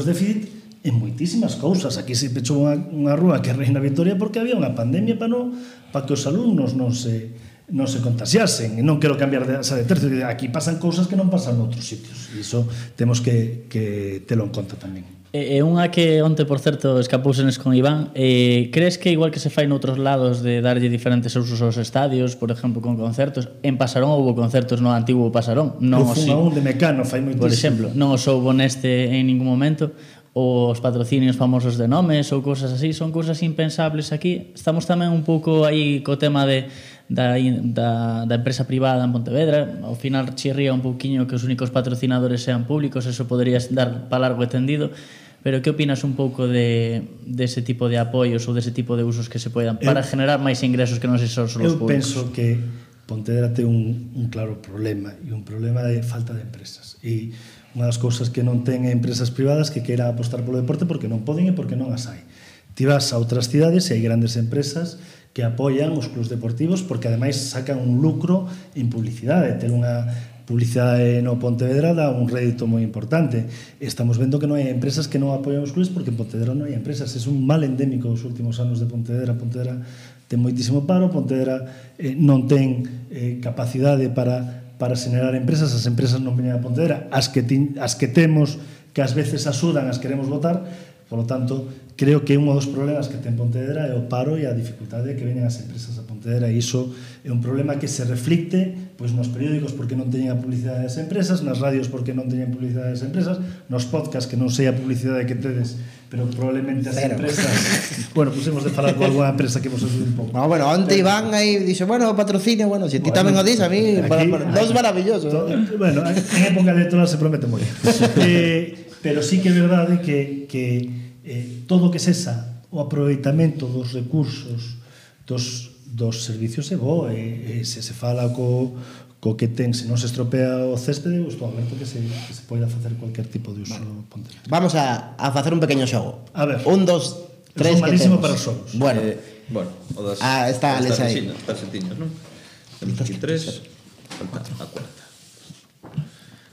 déficit en moitísimas cousas. Aquí se pechou unha rúa que é Reina Victoria porque había unha pandemia para que os alumnos non se contagiasen. E non quero cambiar de tercio. Aquí pasan cousas que non pasan noutros sitios. E iso temos que telo en conta tamén. E unha que onte, por certo, escapousenes con Iván, crees que igual que se fai noutros lados de darlle diferentes usos aos estadios, por exemplo, con concertos, en Pasarón houve concertos no antigo Pasarón, non o un de Mecano fai moitísimo. Por exemplo, non os houve neste en ningún momento, os patrocinios famosos de nomes ou cousas así, son cousas impensables aquí. Estamos tamén un pouco aí co tema da empresa privada en Pontevedra. Ao final chirría un pouquiño que os únicos patrocinadores sean públicos, eso poderías dar para largo e tendido. Pero que opinas un pouco de ese tipo de apoios ou dese tipo de usos que se poidan para generar máis ingresos que non se son os públicos? Eu penso que Pontevedra ten un claro problema, e un problema de falta de empresas. E unha das cousas que non ten empresas privadas que queira apostar polo deporte porque non poden e porque non as hai. Ti vas a outras cidades e hai grandes empresas que apoian os clubs deportivos porque ademais sacan un lucro en publicidade, ter unha publicidade no Pontevedra dá un rédito moi importante. Estamos vendo que non hai empresas que non apoian os clubes porque en Pontevedra non hai empresas. É un mal endémico os últimos anos de Pontevedra. Pontevedra ten moitísimo paro, Pontevedra non ten capacidade para xenerar empresas. As empresas non veñen a Pontevedra. As que temos, que ás veces axudan, as queremos votar. Por lo tanto, creo que un dos problemas que ten Pontevedra é o paro e a dificultade de que veñan as empresas a Pontevedra, e iso é un problema que se reflicte pois nos periódicos porque non teñen a publicidade das empresas, nas radios porque non teñen publicidade das empresas, nos podcasts que non sei a publicidade que tedes, pero probablemente as empresas bueno, pues hemos de falar con alguna empresa que vos axude un pouco. No, bueno, onte Iván aí dixo, bueno, patrocinio, bueno, se ti tamén o dis, a mí dos maravillosos. Bueno, en época electoral se promete moi. Pero sí que é verdade que todo o que sexa o aproveitamento dos recursos dos servicios é bo, se se fala co que ten, se non se estropea o céspede, estou aberto que se poida facer cualquier tipo de uso. Pontevedra. Vamos a facer un pequeño xogo. A ver. 1, 2, 3 que malísimo temos. para os xogos. Bueno, o das está Alex aí. Tarxetiñas, non? Temos aquí 3, falta a cuarta.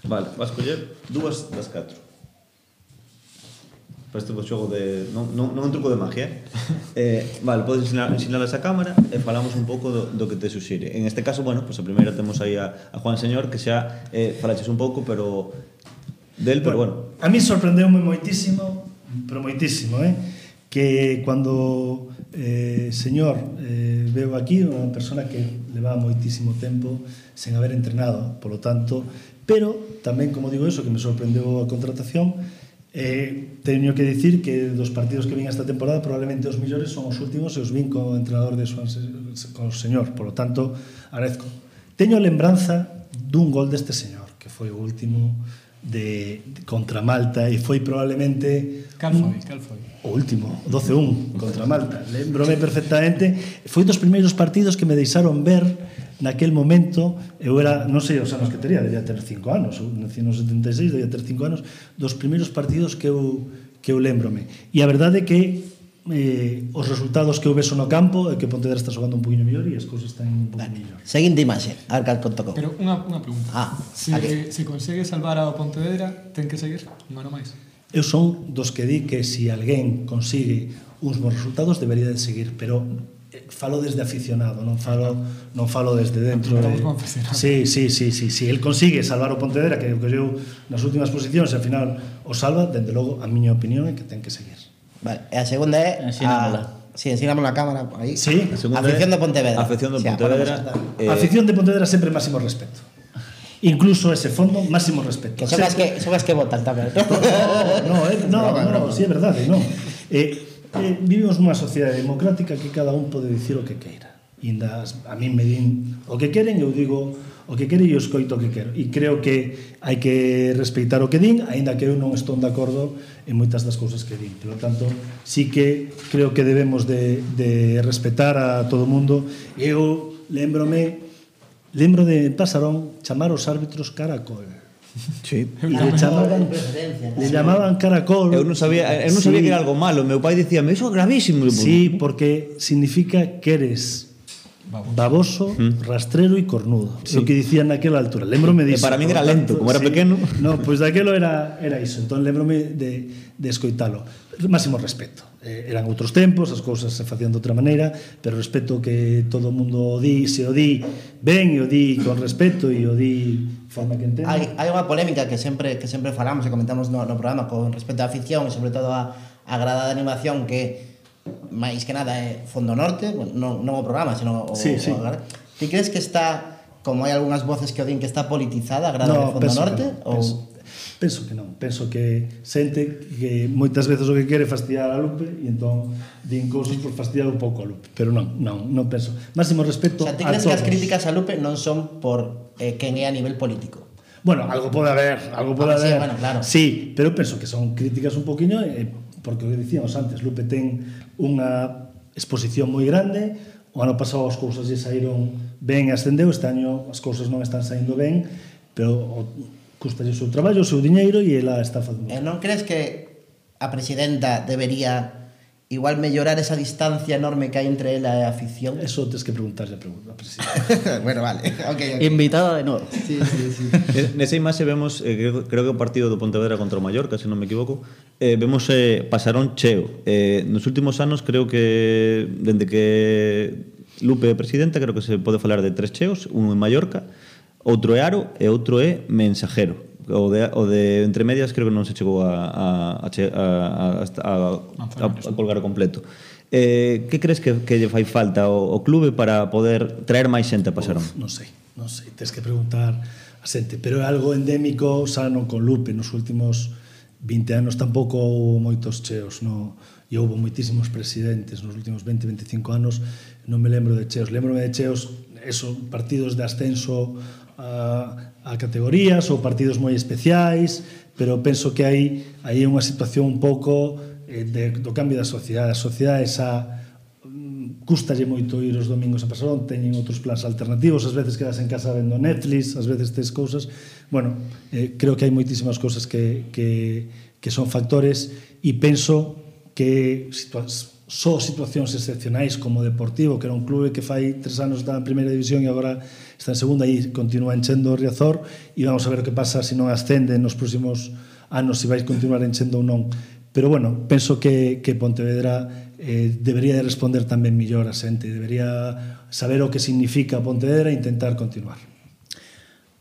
Vale, vas coller 2 das 4. Para este xogo de... Non un truco de magia, vale, podes ensinarlas a cámara e falamos un pouco do que te suxire. En este caso, bueno, pues a primeira temos aí a Juan Señor, que xa falaches un pouco, pero bueno. A mí sorprendeume moitísimo, pero moitísimo, que cando Señor veo aquí, unha persona que leva moitísimo tempo sen haber entrenado, polo tanto, pero tamén, como digo eso, que me sorprendeu a contratación. Teño que dicir que dos partidos que vin esta temporada probablemente os millores son os últimos e os vin como entrenador con o Señor, por lo tanto agradezco. Teño lembranza dun gol deste señor que foi o último contra Malta e foi probablemente Cal foi? O último, 12-1 contra Malta. Lembrome perfectamente, foi dos primeiros partidos que me deixaron ver naquel momento. Eu era, non sei os anos que tería, debía ter 5 anos, eu nací no 76, debía ter 5 anos, dos primeiros partidos que eu lembrome. E a verdade é que os resultados que eu veso no campo é que Pontevedra está xogando un poquinho mellor e as cousas están un pouco mellor. Seguinte imaxe, a ver cal tocou. Pero unha pregunta. Se consegue salvar ao Pontevedra, ten que seguir un ano máis. Eu son dos que di que se alguén consigue uns bons resultados debería de seguir, pero falo desde aficionado, non falo desde dentro. Sí, el consigue salvar o Pontevedra, que eu nas últimas posicións e ao final o salva, dende logo a miña opinión é que ten que seguir. Vale, e a segunda é ensinamos a cámara aí. Sí, afección de Pontevedra. Afección de Pontevedra. Afección de Pontevedra sempre máximo respeto. Incluso ese fondo, máximo respeto. Que son as que votan tamén. No, sí, é verdade, non. Vivimos nunha sociedade democrática que cada un pode dicir o que queira. A mí me din o que queren, eu digo o que quero e eu escoito o que quero. E creo que hai que respeitar o que din, aínda que eu non estou de acordo en moitas das cousas que din. Por lo tanto, sí que creo que debemos de respetar a todo o mundo. Eu lembro de Pasarón chamar os árbitros caracol. Sí. Le llamaban caracol. Eu non sabía que era algo malo. Meu pai dicíame, iso é gravísimo. Sí, porque significa que eres baboso, rastrero e cornudo. O que dicían naquela altura. Lembrome disso. Para min era lento, como era pequeno. No, pois daquelo era iso. Entón lembrome de escoitalo. Máximo respeto. Eran outros tempos, as cousas se facían de outra maneira, pero respeto que todo o mundo se o di ben e o di con respeto e o di forma que entende. Hai unha polémica que sempre falamos e comentamos no programa con respecto á afición e sobre todo a grada de animación que máis que nada é Fondo Norte, non o programa, senón o grada. Ti crees que está, como hai algunhas voces que o din, que está politizada a grada de Fondo Norte? Penso que non. Penso que xente que moitas veces o que quere fastidiar a Lupe e entón din cousas por fastidiar un pouco a Lupe. Pero non penso. Máximo respeto a todos. Ti crees que as críticas a Lupe non son por quen é a nivel político? Bueno, algo pode haber. Sí, bueno, claro. Sí, pero penso que son críticas un poquinho porque o que dicíamos antes, Lupe ten unha exposición moi grande, o ano pasado as cousas lle saíron ben e ascendeu, este año as cousas non están saindo ben, pero custalle o seu traballo, o seu diñeiro e ela está facendo. Non crees que a presidenta debería igual mellorar esa distancia enorme que hai entre ela e a afición? Eso tens que preguntarlle a presidenta. Bueno, vale. Okay. Invitada de novo. Sí. Nesa imaxe vemos, creo que o partido do Pontevedra contra o Mallorca, se non me equivoco, vemos Pasarón cheo. Nos últimos anos creo que, dende que Lupe é presidenta, creo que se pode falar de 3 cheos, un en Mallorca, outro é Aro e outro é Mensajero. O de entre medias creo que non se chegou a colgar o completo. Que crees que lle fai falta ao clube para poder traer máis xente a Pasarón? Non sei, tens que preguntar a xente, pero é algo endémico xa non con Lupe. Nos últimos 20 anos tampouco houve moitos cheos, e houve moitísimos presidentes nos últimos 20-25 anos. Non me lembro de cheos, lembrome de cheos esos partidos de ascenso a categorías ou partidos moi especiais, pero penso que hai unha situación un pouco do cambio da sociedade. A sociedade custalle moito ir os domingos a Pasarón, teñen outros plans alternativos, ás veces quedas en casa vendo Netflix, ás veces tes cousas. Bueno, creo que hai moitísimas cousas que son factores e penso que só situacións excepcionais como Deportivo, que era un clube que fai 3 anos está en primeira división e agora está en segunda e continúa enchendo o Riazor, e vamos a ver o que pasa se non ascende nos próximos anos, se vai continuar enchendo ou non. Pero bueno, penso que Pontevedra debería de responder tamén mellor a xente, debería saber o que significa Pontevedra e intentar continuar.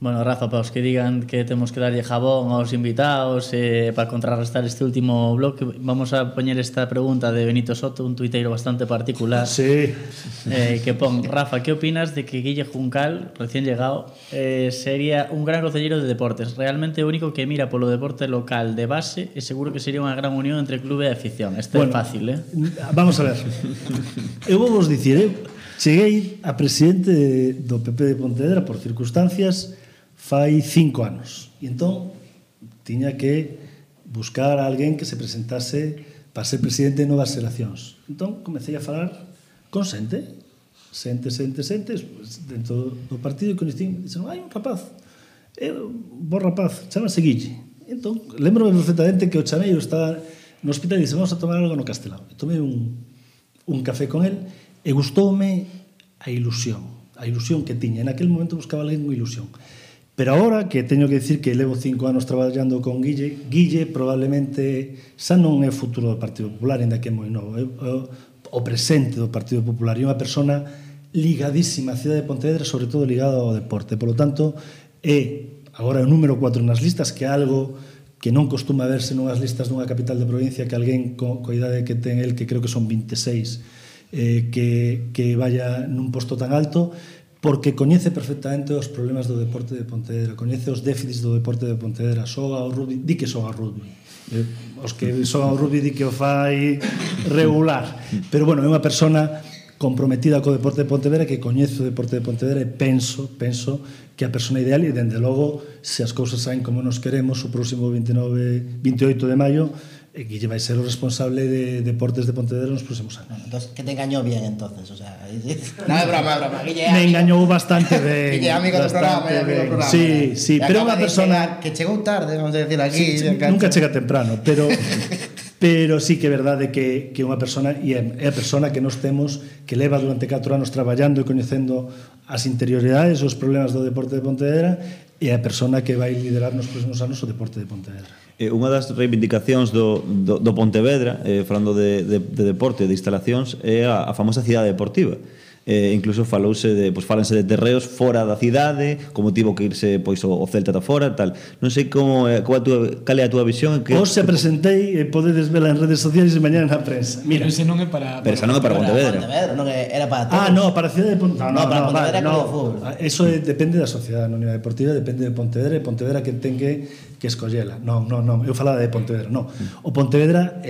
Bueno, Rafa, para os que digan que temos que darlle jabón aos invitados para contrarrestar este último bloque, vamos a poñer esta pregunta de Benito Soto, un tuiteiro bastante particular. Sí. Que pon: Rafa, ¿qué opinas de que Guille Juncal, recién llegado, sería un gran concelleiro de deportes? Realmente o único que mira polo deporte local de base, e seguro que sería unha gran unión entre clube e afición. Este é fácil, Vamos a ver. Eu vou vos dicir, cheguei a presidente do PP de Pontevedra por circunstancias fai 5 anos. E entón tiña que buscar a alguén que se presentase para ser presidente de novas xeracións. Entón comecei a falar con xente dentro do partido, e coñecín, dixen, hai un rapaz, bo rapaz, chamase Guille. Entón, lembrome perfectamente que o chameiro estaba no hospital e dixen, vamos a tomar algo no Castelao. E tomei un café con el e gustoume a ilusión que tiña. En aquel momento buscaba alguén con ilusión. Pero agora que teño que dicir que levo 5 anos traballando con Guille probablemente xa non é o futuro do Partido Popular, ainda que é moi novo, é o presente do Partido Popular, e unha persona ligadísima á cidade de Pontevedra, sobre todo ligada ao deporte. Por lo tanto, é agora o número 4 nas listas, que é algo que non costuma verse nunhas listas dunha capital de provincia, que alguén coa idade que ten el, que creo que son 26, que vaya nun posto tan alto, porque coñece perfectamente os problemas do deporte de Pontevedra, coñece os déficits do deporte de Pontevedra, xoga ao rugby, di que xoga ao rugby. Os que xogan ao rugby di que o fai regular. Pero bueno, é unha persona comprometida co deporte de Pontevedra, que coñece o deporte de Pontevedra, e penso que a persona ideal, e dende logo, se as cousas saen como nos queremos, o próximo 28 de maio, Guille vai ser o responsable de deportes de Pontevedra nos próximos anos. Entonces, que te engañó bien, entonces, o sea... No, é broma. Guille, me engañou bastante ben. Guille, amigo do programa. Sí, pero é unha persona... Que chegou tarde, vamos a decir aquí. Sí, nunca chega temprano, pero pero sí que é verdade que unha persona, e é a persona que nos temos, que leva durante 4 anos traballando e coñecendo as interioridades, os problemas do deporte de Pontevedra, e a persona que vai liderar nos próximos anos o deporte de Pontevedra. Unha das reivindicacións do Pontevedra, falando de deporte, de instalacións, é a famosa cidade deportiva. Incluso falanse de terreos fora da cidade, como tivo que irse pois o Celta da fora, tal. Non sei cal é a túa visión. Hoxe presentei e podedes vela en redes sociais e mañá na prensa. Mira, ese non é para... Pero esa non é para Pontevedra. Non era para todos. No, para a cidade de Pontevedra. No, para Pontevedra no. de fútbol. Eso depende da sociedade anónima deportiva, depende de Pontevedra, e Pontevedra que ten que escollela. Non, eu falaba de Pontevedra, non. O Pontevedra,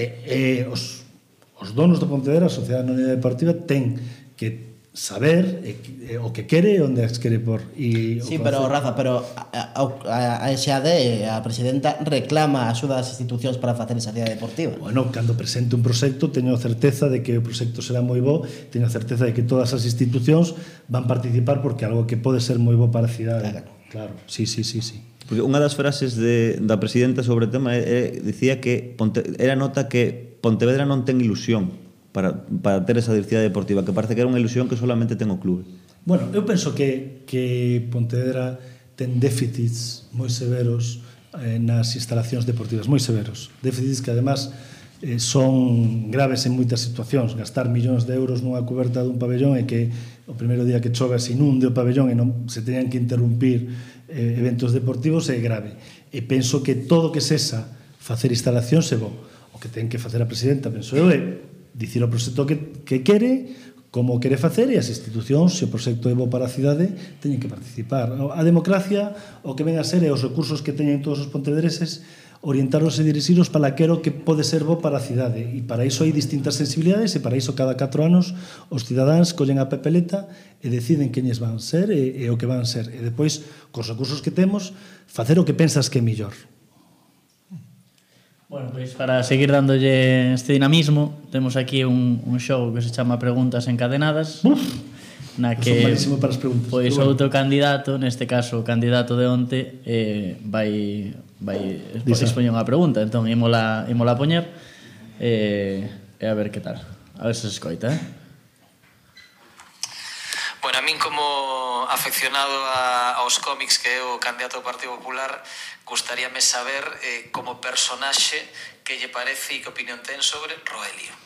os donos do Pontevedra, a sociedade anónima deportiva, ten que saber o que quere e onde as quere por. Sí, pero Rafa, a SAD, a presidenta, reclama a axuda das institucións para facer esa cidade deportiva. Bueno, cando presente un proxecto, teño certeza de que o proxecto será moi bo, teño certeza de que todas as institucións van participar porque é algo que pode ser moi bo para a cidade. Claro, sí. Porque unha das frases da presidenta sobre o tema dicía que era nota que Pontevedra non ten ilusión para ter esa cidade deportiva, que parece que era unha ilusión que solamente ten o clube. Bueno, eu penso que Pontevedra ten déficits moi severos nas instalacións deportivas, moi severos. Déficits que, además, son graves en moitas situacións. Gastar millóns de euros nunha coberta dun pabellón e que o primeiro día que chove se inunde o pabellón e non se teñan que interrumpir eventos deportivos é grave. E penso que todo o que cesa facer instalacións é bo. O que ten que facer a presidenta, penso eu, é dicir o proxecto que quere, como quere facer, e as institucións, se o proxecto é bo para a cidade, teñen que participar. A democracia, o que ven a ser, é os recursos que teñen todos os pontevedreses, orientaros e dirixiros para aquilo que pode ser bo para a cidade. E para iso hai distintas sensibilidades, e para iso cada 4 anos os cidadáns collen a papeleta e deciden queñes van ser e o que van ser. E depois, cos recursos que temos, facer o que pensas que é mellor. Bueno, pois para seguir dándolle este dinamismo, temos aquí un show que se chama Preguntas Encadenadas. Na que son malísimo para as preguntas. Pois outro candidato, neste caso o candidato de onte, vai expoñer unha pregunta, entón ímola poñer e a ver que tal. A ver se escoita, Bueno, a min como afeccionado aos cómics que é o candidato do Partido Popular, gustaríame saber como personaxe que lle parece e que opinión ten sobre Roelio.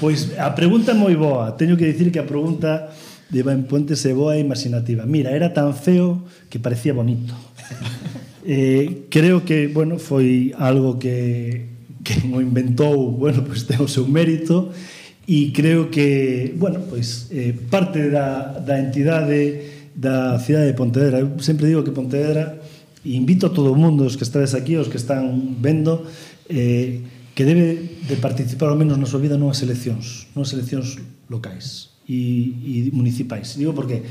Pois a pregunta é moi boa. Teño que dicir que a pregunta de Iván Puentes é boa e imaginativa. Mira, era tan feo que parecía bonito. Creo que, bueno, foi algo que o inventou, bueno, pois ten o seu mérito, e creo que, bueno, pois parte da entidade da cidade de Pontevedra. Eu sempre digo que Pontevedra, e invito a todo o mundo, os que estades aquí, os que están vendo, que debe de participar ao menos na súa vida nunhas eleccións locais e municipais. Digo porque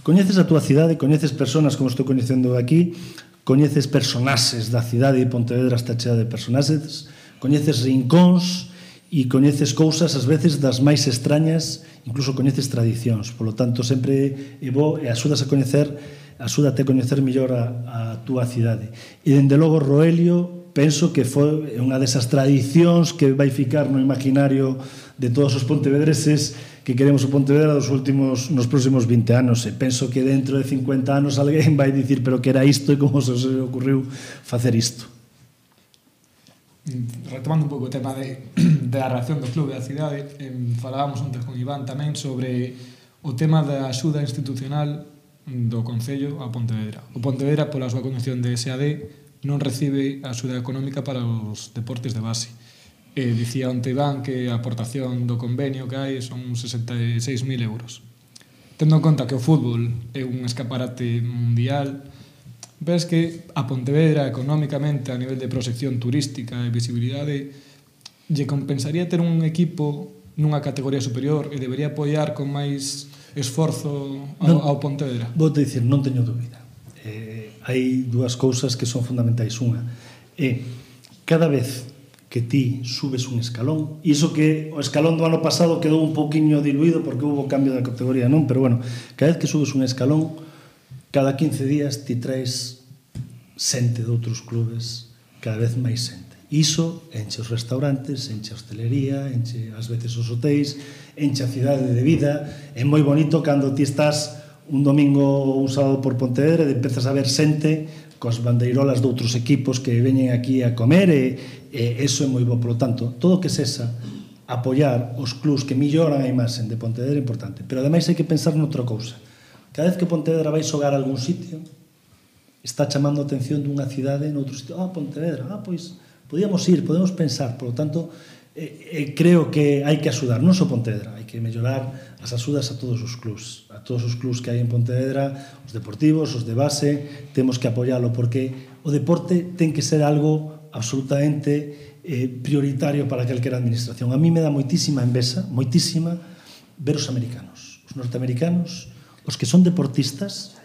coñeces a túa cidade, coñeces personas como estou coñecendo aquí, coñeces personaxes da cidade de Pontevedra, está chea de personaxes, coñeces rincóns e coñeces cousas ás veces das máis extrañas, incluso coñeces tradicións. Polo tanto, sempre é bo e axúdate a coñecer mellor a túa cidade. E, dende logo, Roelio, penso que foi unha desas tradicións que vai ficar no imaginario de todos os pontevedreses que queremos o Pontevedra nos próximos 20 anos. E penso que dentro de 50 anos alguén vai dicir pero que era isto e como se ocurriu facer isto. Retomando un pouco o tema da reacción do clube da cidade, falábamos antes con Iván tamén sobre o tema da axuda institucional do Concello a Pontevedra. O Pontevedra, pola súa condición de SAD, non recibe axuda económica para os deportes de base. Dicía onte Iván que a aportación do convenio que hai son 66.000 euros. Tendo en conta que o fútbol é un escaparate mundial, ves que a Pontevedra económicamente a nivel de proxección turística e visibilidade lle compensaría ter un equipo nunha categoría superior e debería apoiar con máis esforzo ao Pontevedra. Vou te dicir, non teño dúbida. Hai dúas cousas que son fundamentais. Unha é cada vez que ti subes un escalón, e iso que o escalón do ano pasado quedou un pouquiño diluído porque houve cambio da categoría, non? Pero bueno, cada vez que subes un escalón, cada 15 días ti traes xente de outros clubes, cada vez máis xente. Iso enche os restaurantes, enche a hostelería, enche ás veces os hotéis, enche a cidade de vida. É moi bonito cando ti estás un domingo ou un sábado por Pontevedra e empezas a ver xente cos bandeirolas de outros equipos que veñen aquí a comer e eso é moi bo. Por lo tanto, todo que sexa apoiar os clubs que melloran a imaxen de Pontevedra é importante. Pero ademais hai que pensar noutra cousa. Cada vez que Pontevedra vai xogar a algún sitio, está chamando a atención dunha cidade noutro sitio. Pontevedra, pois podíamos ir, podemos pensar. Por lo tanto, creo que hai que axudar, non só Pontevedra, hai que mellorar as axudas a todos os clubs que hai en Pontevedra, os deportivos, os de base, temos que apoialo, porque o deporte ten que ser algo absolutamente prioritario para calquera administración. A mí me dá moitísima envexa, moitísima, ver os americanos. Os norteamericanos, os que son deportistas,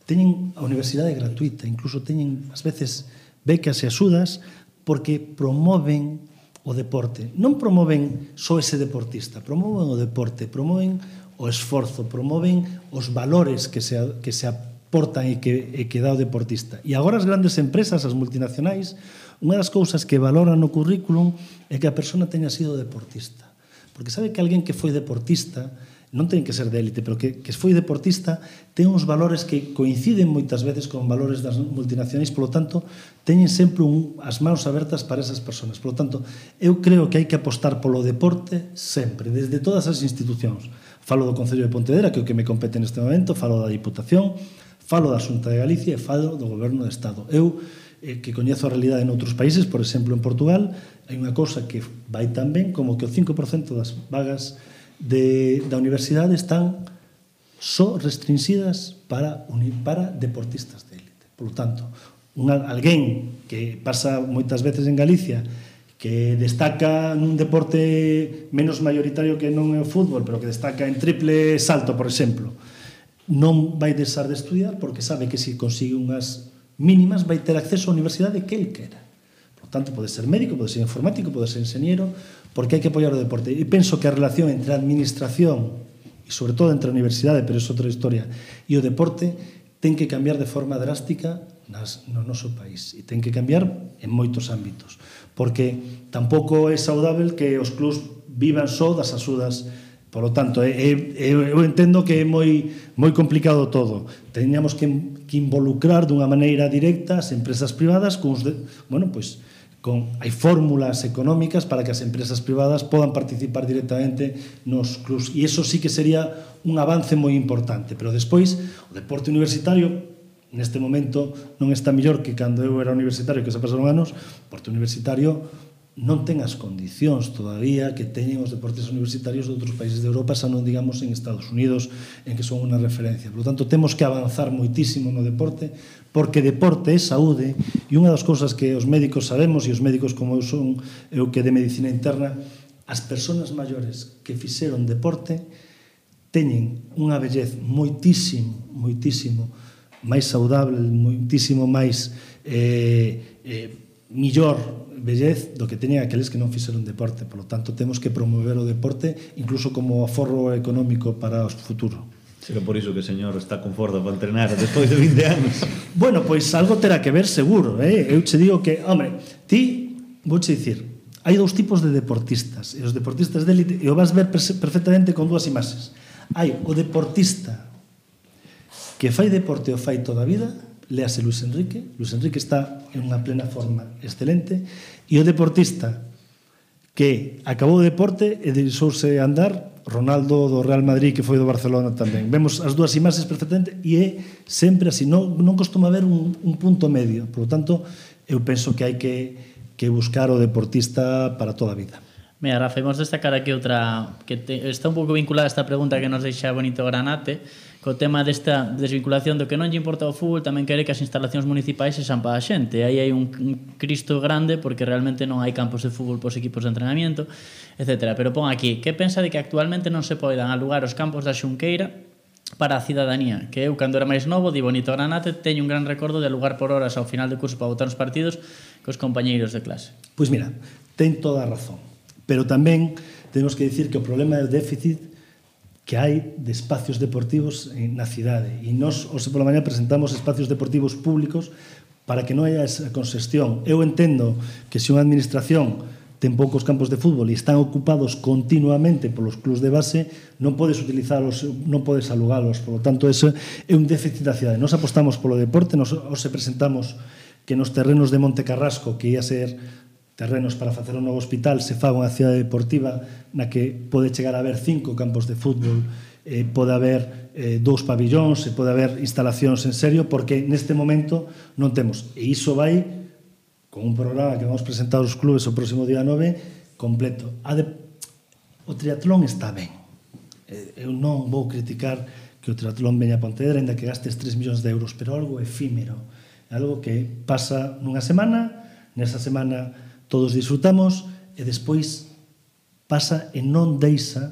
teñen a universidade gratuita, incluso teñen, ás veces, becas e axudas, porque promoven o deporte. Non promoven só ese deportista, promoven o deporte, promoven o esforzo, promoven os valores que se aportan e que dá o deportista. E agora as grandes empresas, as multinacionais, unha das cousas que valoran no currículum é que a persona teña sido deportista. Porque sabe que alguén que foi deportista, non ten que ser de élite, pero que foi deportista, ten uns valores que coinciden moitas veces con valores das multinacionais, polo tanto, teñen sempre as mãos abertas para esas persoas. Polo tanto, eu creo que hai que apostar polo deporte sempre, desde todas as institucións. Falo do Concello de Pontevedra, que é o que me compete neste momento, falo da Diputación, falo da Xunta de Galicia e falo do Goberno de Estado. Eu, que coñezo a realidade en outros países, por exemplo, en Portugal, hai unha cousa que vai tan ben como que o 5% das vagas da universidade están só restringidas para deportistas de élite. Por lo tanto, alguén que pasa moitas veces en Galicia que destaca nun deporte menos mayoritario que non é o fútbol, pero que destaca en triple salto, por exemplo, non vai deixar de estudiar porque sabe que se consigue unhas mínimas vai ter acceso á universidade que el quera. Por tanto, pode ser médico, pode ser informático, pode ser enxeñeiro, porque hai que apoiar o deporte. E penso que a relación entre a administración e, sobre todo, entre a universidade, pero é outra historia, e o deporte ten que cambiar de forma drástica no noso país. E ten que cambiar en moitos ámbitos. Porque tampouco é saudável que os clubs vivan só das axudas. Por lo tanto, eu entendo que é moi complicado todo. Teñamos que involucrar dunha maneira directa as empresas privadas hai fórmulas económicas para que as empresas privadas podan participar directamente nos clubs. E iso sí que sería un avance moi importante. Pero despois, o deporte universitario, neste momento, non está mellor que cando eu era universitario, que se pasaron anos. O deporte universitario non ten as condicións todavía que teñen os deportes universitarios de outros países de Europa, xa non digamos en Estados Unidos, en que son unha referencia. Por lo tanto, temos que avanzar moitísimo no deporte, porque deporte é saúde, e unha das cousas que os médicos sabemos, e os médicos como eu son, eu que de medicina interna, as persoas maiores que fixeron deporte teñen unha vellez moitísimo máis saudable, moitísimo máis millor vellez do que teñen aqueles que non fixeron deporte. Por lo tanto, temos que promover o deporte incluso como aforro económico para o futuro. Será por iso que o señor está con forza para entrenar despois de 20 anos. Bueno, pois algo terá que ver seguro, Eu che digo que, vouche dicir, hai dous tipos de deportistas, e os deportistas de élite, e o vas ver perfectamente con dúas imaxes. Hai o deportista que fai deporte o fai toda a vida, léase Luis Enrique está en unha plena forma excelente, e o deportista que acabou o deporte e deixouse andar, Ronaldo do Real Madrid, que foi do Barcelona tamén. Vemos as dúas imaxes perfectamente e é sempre así, non costuma haber un punto medio. Por lo tanto, eu penso que hai que buscar o deportista para toda a vida. Mira, Rafa, imos destacar aquí outra que está un pouco vinculada a esta pregunta que nos deixa Bonito Granate, co tema desta desvinculación do que non lle importa o fútbol, tamén quere que as instalacións municipais sexan para a xente. Aí hai un cristo grande porque realmente non hai campos de fútbol pos equipos de entrenamiento, etc. Pero pon aquí, que pensa de que actualmente non se poidan alugar os campos da Xunqueira para a cidadanía? Que eu, cando era máis novo, di Bonito Granate, teño un gran recordo de alugar por horas ao final de curso para botar os partidos cos compañeiros de clase. Pois mira, ten toda a razón. Pero tamén temos que dicir que o problema é o déficit que hai de espacios deportivos na cidade. E nós, hoxe pola mañá, presentamos espacios deportivos públicos para que non haya esa congestión. Eu entendo que se unha administración ten poucos campos de fútbol e están ocupados continuamente polos clubs de base, non podes utilizalos, non podes alugalos. Por lo tanto, ese é un déficit da cidade. Nos apostamos polo deporte, nos presentamos que nos terrenos de Monte Carrasco, que ia ser terrenos para facer un novo hospital, se faga unha cidade deportiva na que pode chegar a haber 5 campos de fútbol, pode haber 2 pabillóns, pode haber instalacións en serio, porque neste momento non temos. E iso vai con un programa que vamos presentar aos clubes o próximo día 9, completo. O triatlón está ben. Eu non vou criticar que o triatlón veña a Pontevedra, ainda que gastes 3 millóns de euros, pero algo efímero. Algo que pasa nunha semana, nesa semana todos disfrutamos, e despois pasa e non deixa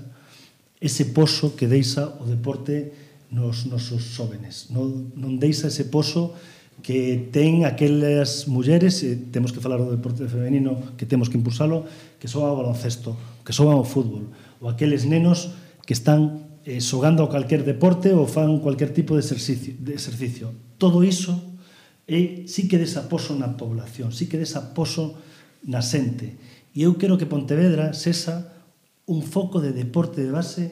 ese pozo que deixa o deporte nos nosos xóvenes. Non deixa ese pozo que ten aquelas mulleres, e temos que falar do deporte femenino, que temos que impulsalo, que xogan ao baloncesto, que xogan ao fútbol, ou aqueles nenos que están xogando a calquer deporte ou fan cualquier tipo de exercicio. Todo iso sí que desaposo na población, sí que desaposo na xente. E eu quero que Pontevedra sexa un foco de deporte de base,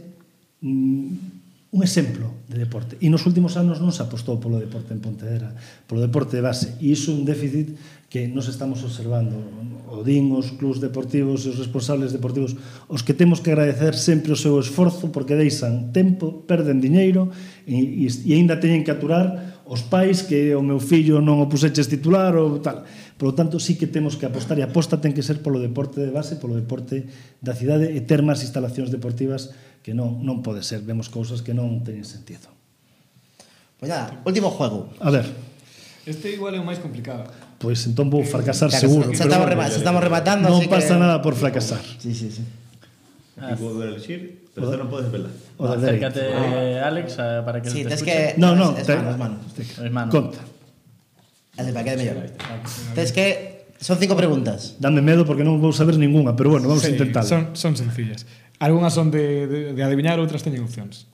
un exemplo de deporte. E nos últimos anos non se apostou polo deporte en Pontevedra, polo deporte de base. E iso é un déficit que nos estamos observando. O din os clubs deportivos e os responsables deportivos, os que temos que agradecer sempre o seu esforzo, porque deixan tempo, perden diñeiro e aínda teñen que aturar os pais que o meu fillo non o puseches titular ou tal. Por lo tanto, sí que temos que apostar, e a aposta ten que ser polo deporte de base, polo deporte da cidade, e ter máis instalacións deportivas, que non pode ser. Vemos cousas que non teñen sentido. Pois nada, último juego. A ver. Este igual é o máis complicado. Pois entón vou fracasar Claro, seguro. se estamos rematando, non así pasa que... nada por fracasar. Sí. Aquí puedo elegir, pero non podes velar. O da dereita. Acércate, Alex, para que Sí, se te tens escuche. que... No, Es mano. Hermano. Conta. Para que quede mellor. Tens que... Son 5 preguntas. Dame medo porque non vou saber ninguna, pero bueno, vamos a intentar. Son sencillas. Algunhas son de adivinar, outras teñen opcións.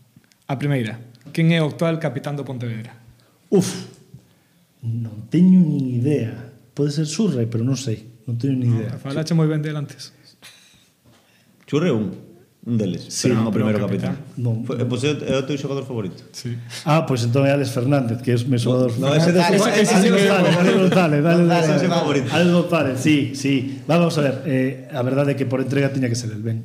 A primeira, quen é o actual capitán do Pontevedra? Non teño nin idea. Pode ser Surrey, pero non sei. Non teño nin idea. Falache moi ben del antes. Churre un deles, Sí, pero non o pero primeiro o capitán. Non. Pois é o teu xogador favorito. Sí. Pois entón é Alex Fernández, que é o meu xogador. No, ese de Alex González, Ese é o favorito. Alex González, sí. Vamos a ver, a verdade é que por entrega tiña que ser el ben.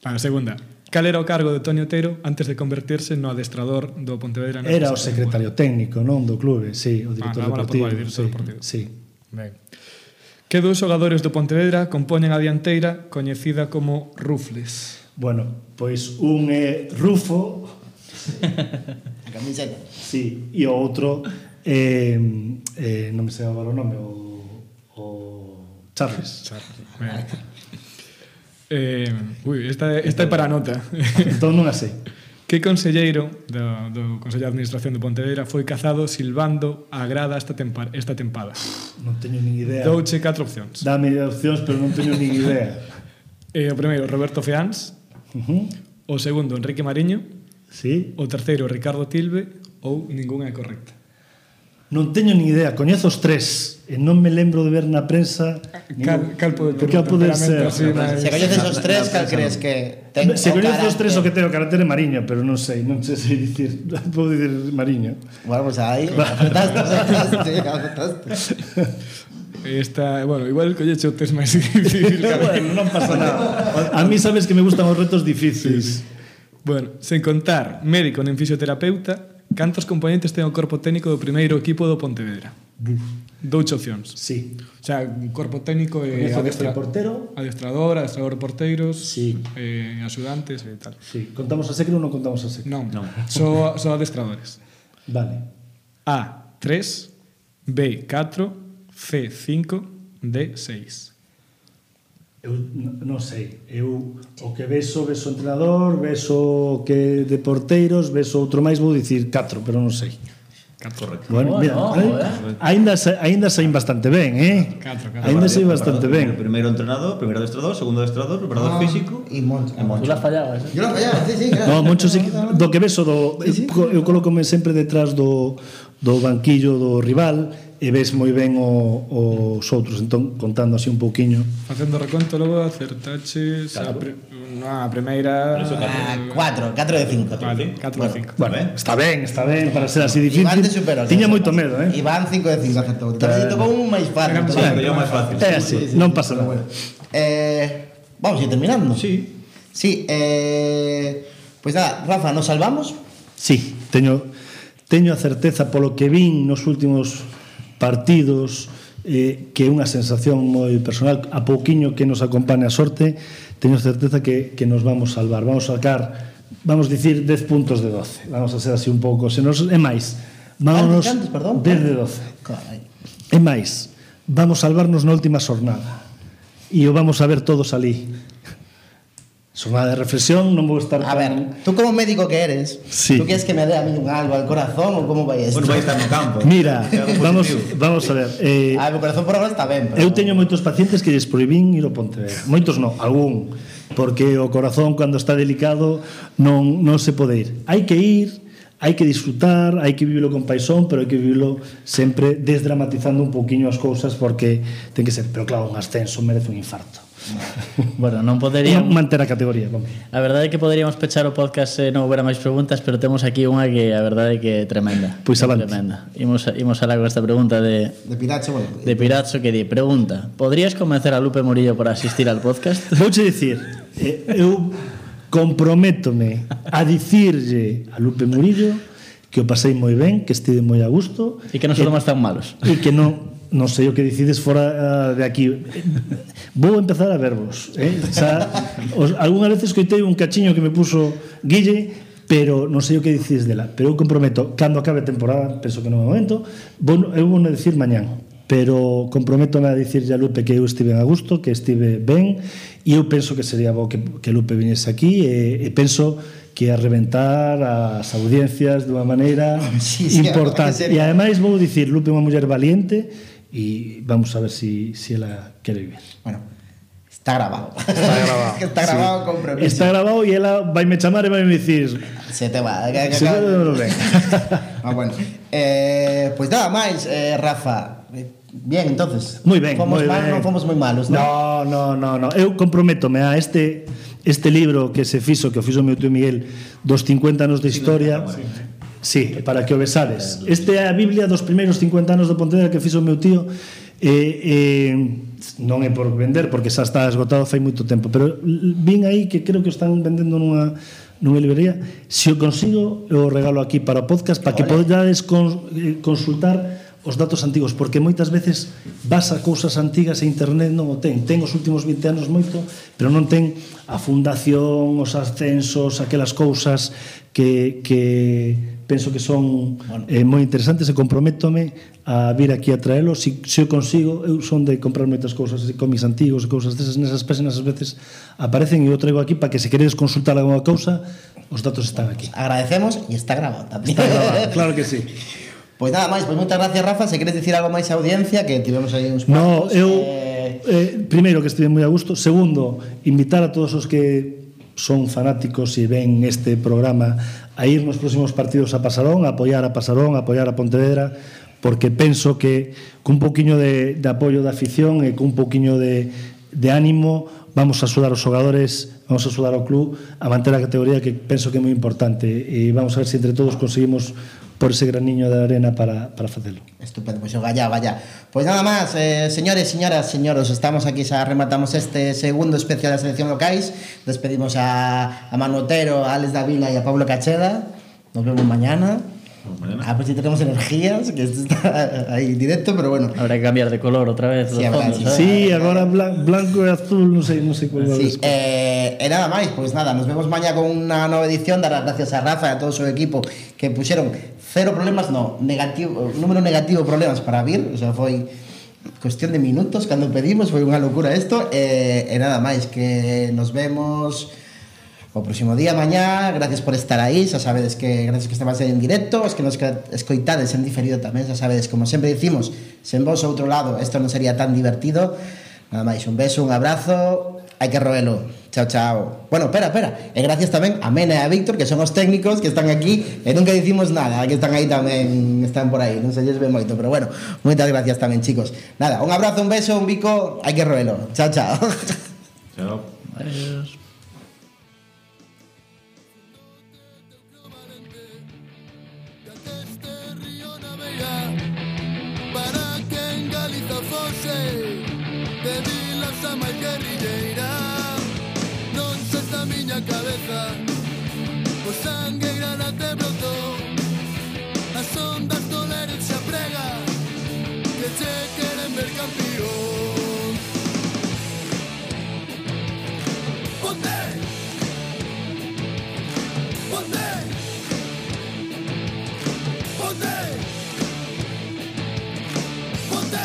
A segunda, cal era o cargo de Toni Outeiro antes de convertirse no adestrador do Pontevedra? Era o secretario técnico, non do clube, sí, o director deportivo. Director deportivo. Sí. Ben. Que dous xogadores do Pontevedra compoñen a dianteira coñecida como Rufles? Bueno, pois un é Rufo, A camiseta. sí, e o outro non me sei agora o nome, o Charles. Ben. Esta é para a nota. Entón non a sei. Que conselleiro do Consello de Administración de Pontevedra foi cazado silbando a grada esta tempada? Non teño nin idea. Douche 4 opcións. Dame opcións, pero non teño nin idea. O primeiro, Roberto Feáns. O segundo, Enrique Mariño. Sí. O terceiro, Ricardo Tilbe. Ou ningunha é correcta. Non teño nin idea, coñezo os 3 e non me lembro de ver na prensa Cal pode ter cal pode ser. Se coñeces os 3, cal crees que ten Se o coñezo os 3 o carácter? que ten o carácter é Mariño, pero non sei dicir, podo dicir Mariño. Bueno, pues aí, apretaste. Bueno, igual colleche o test máis difícil. Bueno, non pasa nada. A mí sabes que me gustan os retos difíciles. Bueno, sen contar médico nen fisioterapeuta, cantos componentes ten o corpo técnico do primeiro equipo do Pontevedra? Douche opcións. Sí. O sea, un corpo técnico e portero? adestrador porteiros, Sí. axudantes e tal. Sí. Contamos a secre ou non contamos a secre? Non. Só adestradores. Vale. A, 3, B, 4, C, 5, D, 6. Eu non sei. Eu o que beso o entrenador, beso o que de porteiros, beso outro máis, vou dicir 4, pero non sei. 4. Bueno, mira, aínda saín bastante ben, Catro. Aínda saín bastante ben. Primeiro entrenador, primeiro adestrador, segundo adestrador, preparador físico E Moncho. Tú la fallabas, eh? Yo la fallaba, sí, claro. No, Moncho sí, do que beso eu colócome sempre detrás do banquillo do rival e ves moi ben os outros. Entón, contando así un pouquiño. Facendo reconto, logo acertaches a primeira... 4 de 5. Vale, 4 de 5. Bueno, está ben para ser así difícil. Iván te superou. Tiña moito medo, Iván 5 de 5 acertou. Tamén tocou un máis fácil. Pero yo máis fácil. É así, non pasa nada. Vamos a ir terminando. Sí. Sí, pois nada, Rafa, nos salvamos? Sí, teño a certeza polo que vin nos últimos partidos, que é unha sensación moi personal, a pouquiño que nos acompaña a sorte, teño certeza que nos vamos salvar. Vamos a sacar, vamos dicir, 10 puntos de 12. Vamos a ser así un pouco, se nos é máis. Vámonos 10 de 12. Carai. É máis, vamos salvarnos na última xornada. E o vamos a ver todos ali. Xornada de reflexión, non vou estar... A ver, tú como médico que eres, sí. ¿Tú quieres que me dé a mí un algo al corazón o como vai esto? Bueno, vai estar no campo. Mira, vamos a ver. O corazón por agora está ben, pero... Eu teño moitos pacientes que lles prohibín ir ao Pontevedra. Moitos non, algún. Porque o corazón, cando está delicado, non se pode ir. Hai que ir, hai que disfrutar, hai que vivilo con paixón, pero hai que vivilo sempre desdramatizando un pouquiño as cousas, porque ten que ser, pero claro, un ascenso merece un infarto. Bueno, non poderíamos manter a categoría, vamos. A verdade é que poderíamos pechar o podcast se non houbera máis preguntas, pero temos aquí unha que a verdade é que é tremenda. Pois avante. Tremenda. Imos alá con esta pregunta de Piracho, bueno. De Piracho que di, pregunta: ¿podrías convencer a Lupe Murillo para asistir al podcast? Vouche dicir, eu comprométome a dicirlle a Lupe Murillo que o pasei moi ben, que estive moi a gusto e que non somos tan malos. E que non sei o que decides fora de aquí. Vou empezar a vervos, algunha vez escoitei un cachiño que me puso Guille, pero non sei o que decides dela. Pero eu comprometo, cando acabe a temporada, penso que non é o momento, eu vou non dicir mañán, pero comprométome a dicirlle a Lupe que eu estive a gusto, que estive ben, e eu penso que sería bo que Lupe viniese aquí, e penso que a reventar as audiencias dunha maneira importante. E ademais vou dicir, Lupe é unha muller valiente, e vamos a ver si ela quere vivir. Bueno, está grabado. Está grabado con premiso. Está grabado e ela vaime chamar e vaime dicir se te va. Bueno. Pues nada máis, Rafa. Bien, entonces. Moi ben, fomos moi mal, ben. Non fomos moi malos, non? No. Eu comprométome a este libro que se fixo, que o fixo meu tío Miguel, dos 50 anos de historia. Sí, para que o besades. Este é a Biblia dos primeiros 50 anos do Pontevedra que fixo o meu tío. Non é por vender, porque xa está esgotado fai moito tempo, pero vin aí que creo que o están vendendo nunha librería. Se o consigo, eu o regalo aquí para o podcast, para que podades consultar os datos antigos, porque moitas veces vas a cousas antigas e internet non o ten os últimos 20 anos moito, pero non ten a fundación, os ascensos, aquelas cousas que penso que son moi interesantes, e comprométome a vir aquí a traelo. Se eu consigo, eu son de comprar moitas cousas, cómics antigos e cousas desas, nesas páxinas ás veces aparecen, e eu traigo aquí para que se queredes consultar alguma cousa, os datos están aquí. Agradecemos, e está grabado tamén. Está grabado, claro que sí. Pois nada máis, pois moitas gracias, Rafa. Se queres dicir algo máis a audiencia, que tivemos aí uns cuantos. Primeiro, que estive moi a gusto. Segundo, invitar a todos os que son fanáticos e ven este programa a ir nos próximos partidos a Pasarón, a apoiar a Pasarón, a apoiar a Pontevedra, porque penso que cun pouquiño de apoio da afición e cun pouquiño de ánimo vamos a axudar os xogadores, vamos a axudar ao club a manter a categoría, que penso que é moi importante, e vamos a ver se entre todos conseguimos por ese graniño de arena para facelo. Estupendo, pois vaya. Pois nada máis, señores, señoras, señoros, estamos aquí, xa rematamos este segundo especial da selección locais. Despedimos a Manu Otero, a Alex Davila e a Pablo Cacheda. Nos vemos mañana. Pues si tenemos energías, que esto está ahí directo, pero bueno. Habrá que cambiar de color otra vez. Sí, fondos, sí, agora blanco e azul, non sei cuál sí, nada máis, pois nada, nos vemos mañana con unha nova edición. Dar as gracias a Rafa e a todo o seu equipo que puxeron número negativo problemas para vir, o sea, foi cuestión de minutos cando pedimos, foi unha locura isto, e nada máis, que nos vemos o próximo día, mañá. Gracias por estar aí, xa sabedes que gracias que estamos en directo, os que nos escoitades en diferido tamén, xa sabedes, como sempre dicimos, sen vos outro lado isto non sería tan divertido. Nada máis, un beso, un abrazo, hai que roelo. Chao, chao. Bueno, espera. E gracias tamén a Mena e a Víctor, que son os técnicos que están aquí e nunca dicimos nada, que están aí tamén, están por aí, non se lles ve moito, pero bueno, moitas gracias tamén, chicos. Nada, un abrazo, un beso, un bico, hai que roelo. Chao, chao. Chao. Adiós. Para que en Galiza fose de vilas a máis guerrilleira. Non se está a miña cabeza, o sangue grana te brotou. As ondas do Lérez se aprega, que che queren ver campeón. Ponte! Ponte! Ponte! Ponte!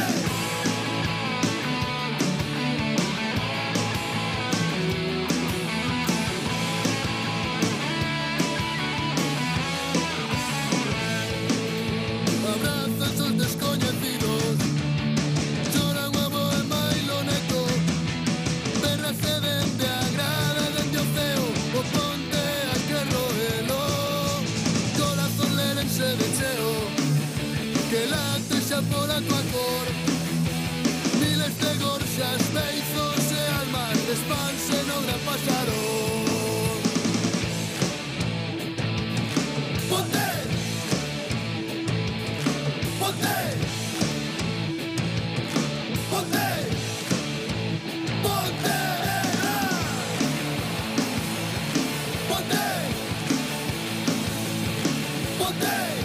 Abrazos os descoñecidos, choran o bo e mailo neto, berrase dende a grada e dende o ceo, o ponte a que roelo, corazón lérense de cheo, que late xa pola tua cor, miles de gorxas, beizos e almas despanse no gran pasarón. Ponte! Ponte! Ponte! Ponte! Ponte! Ponte!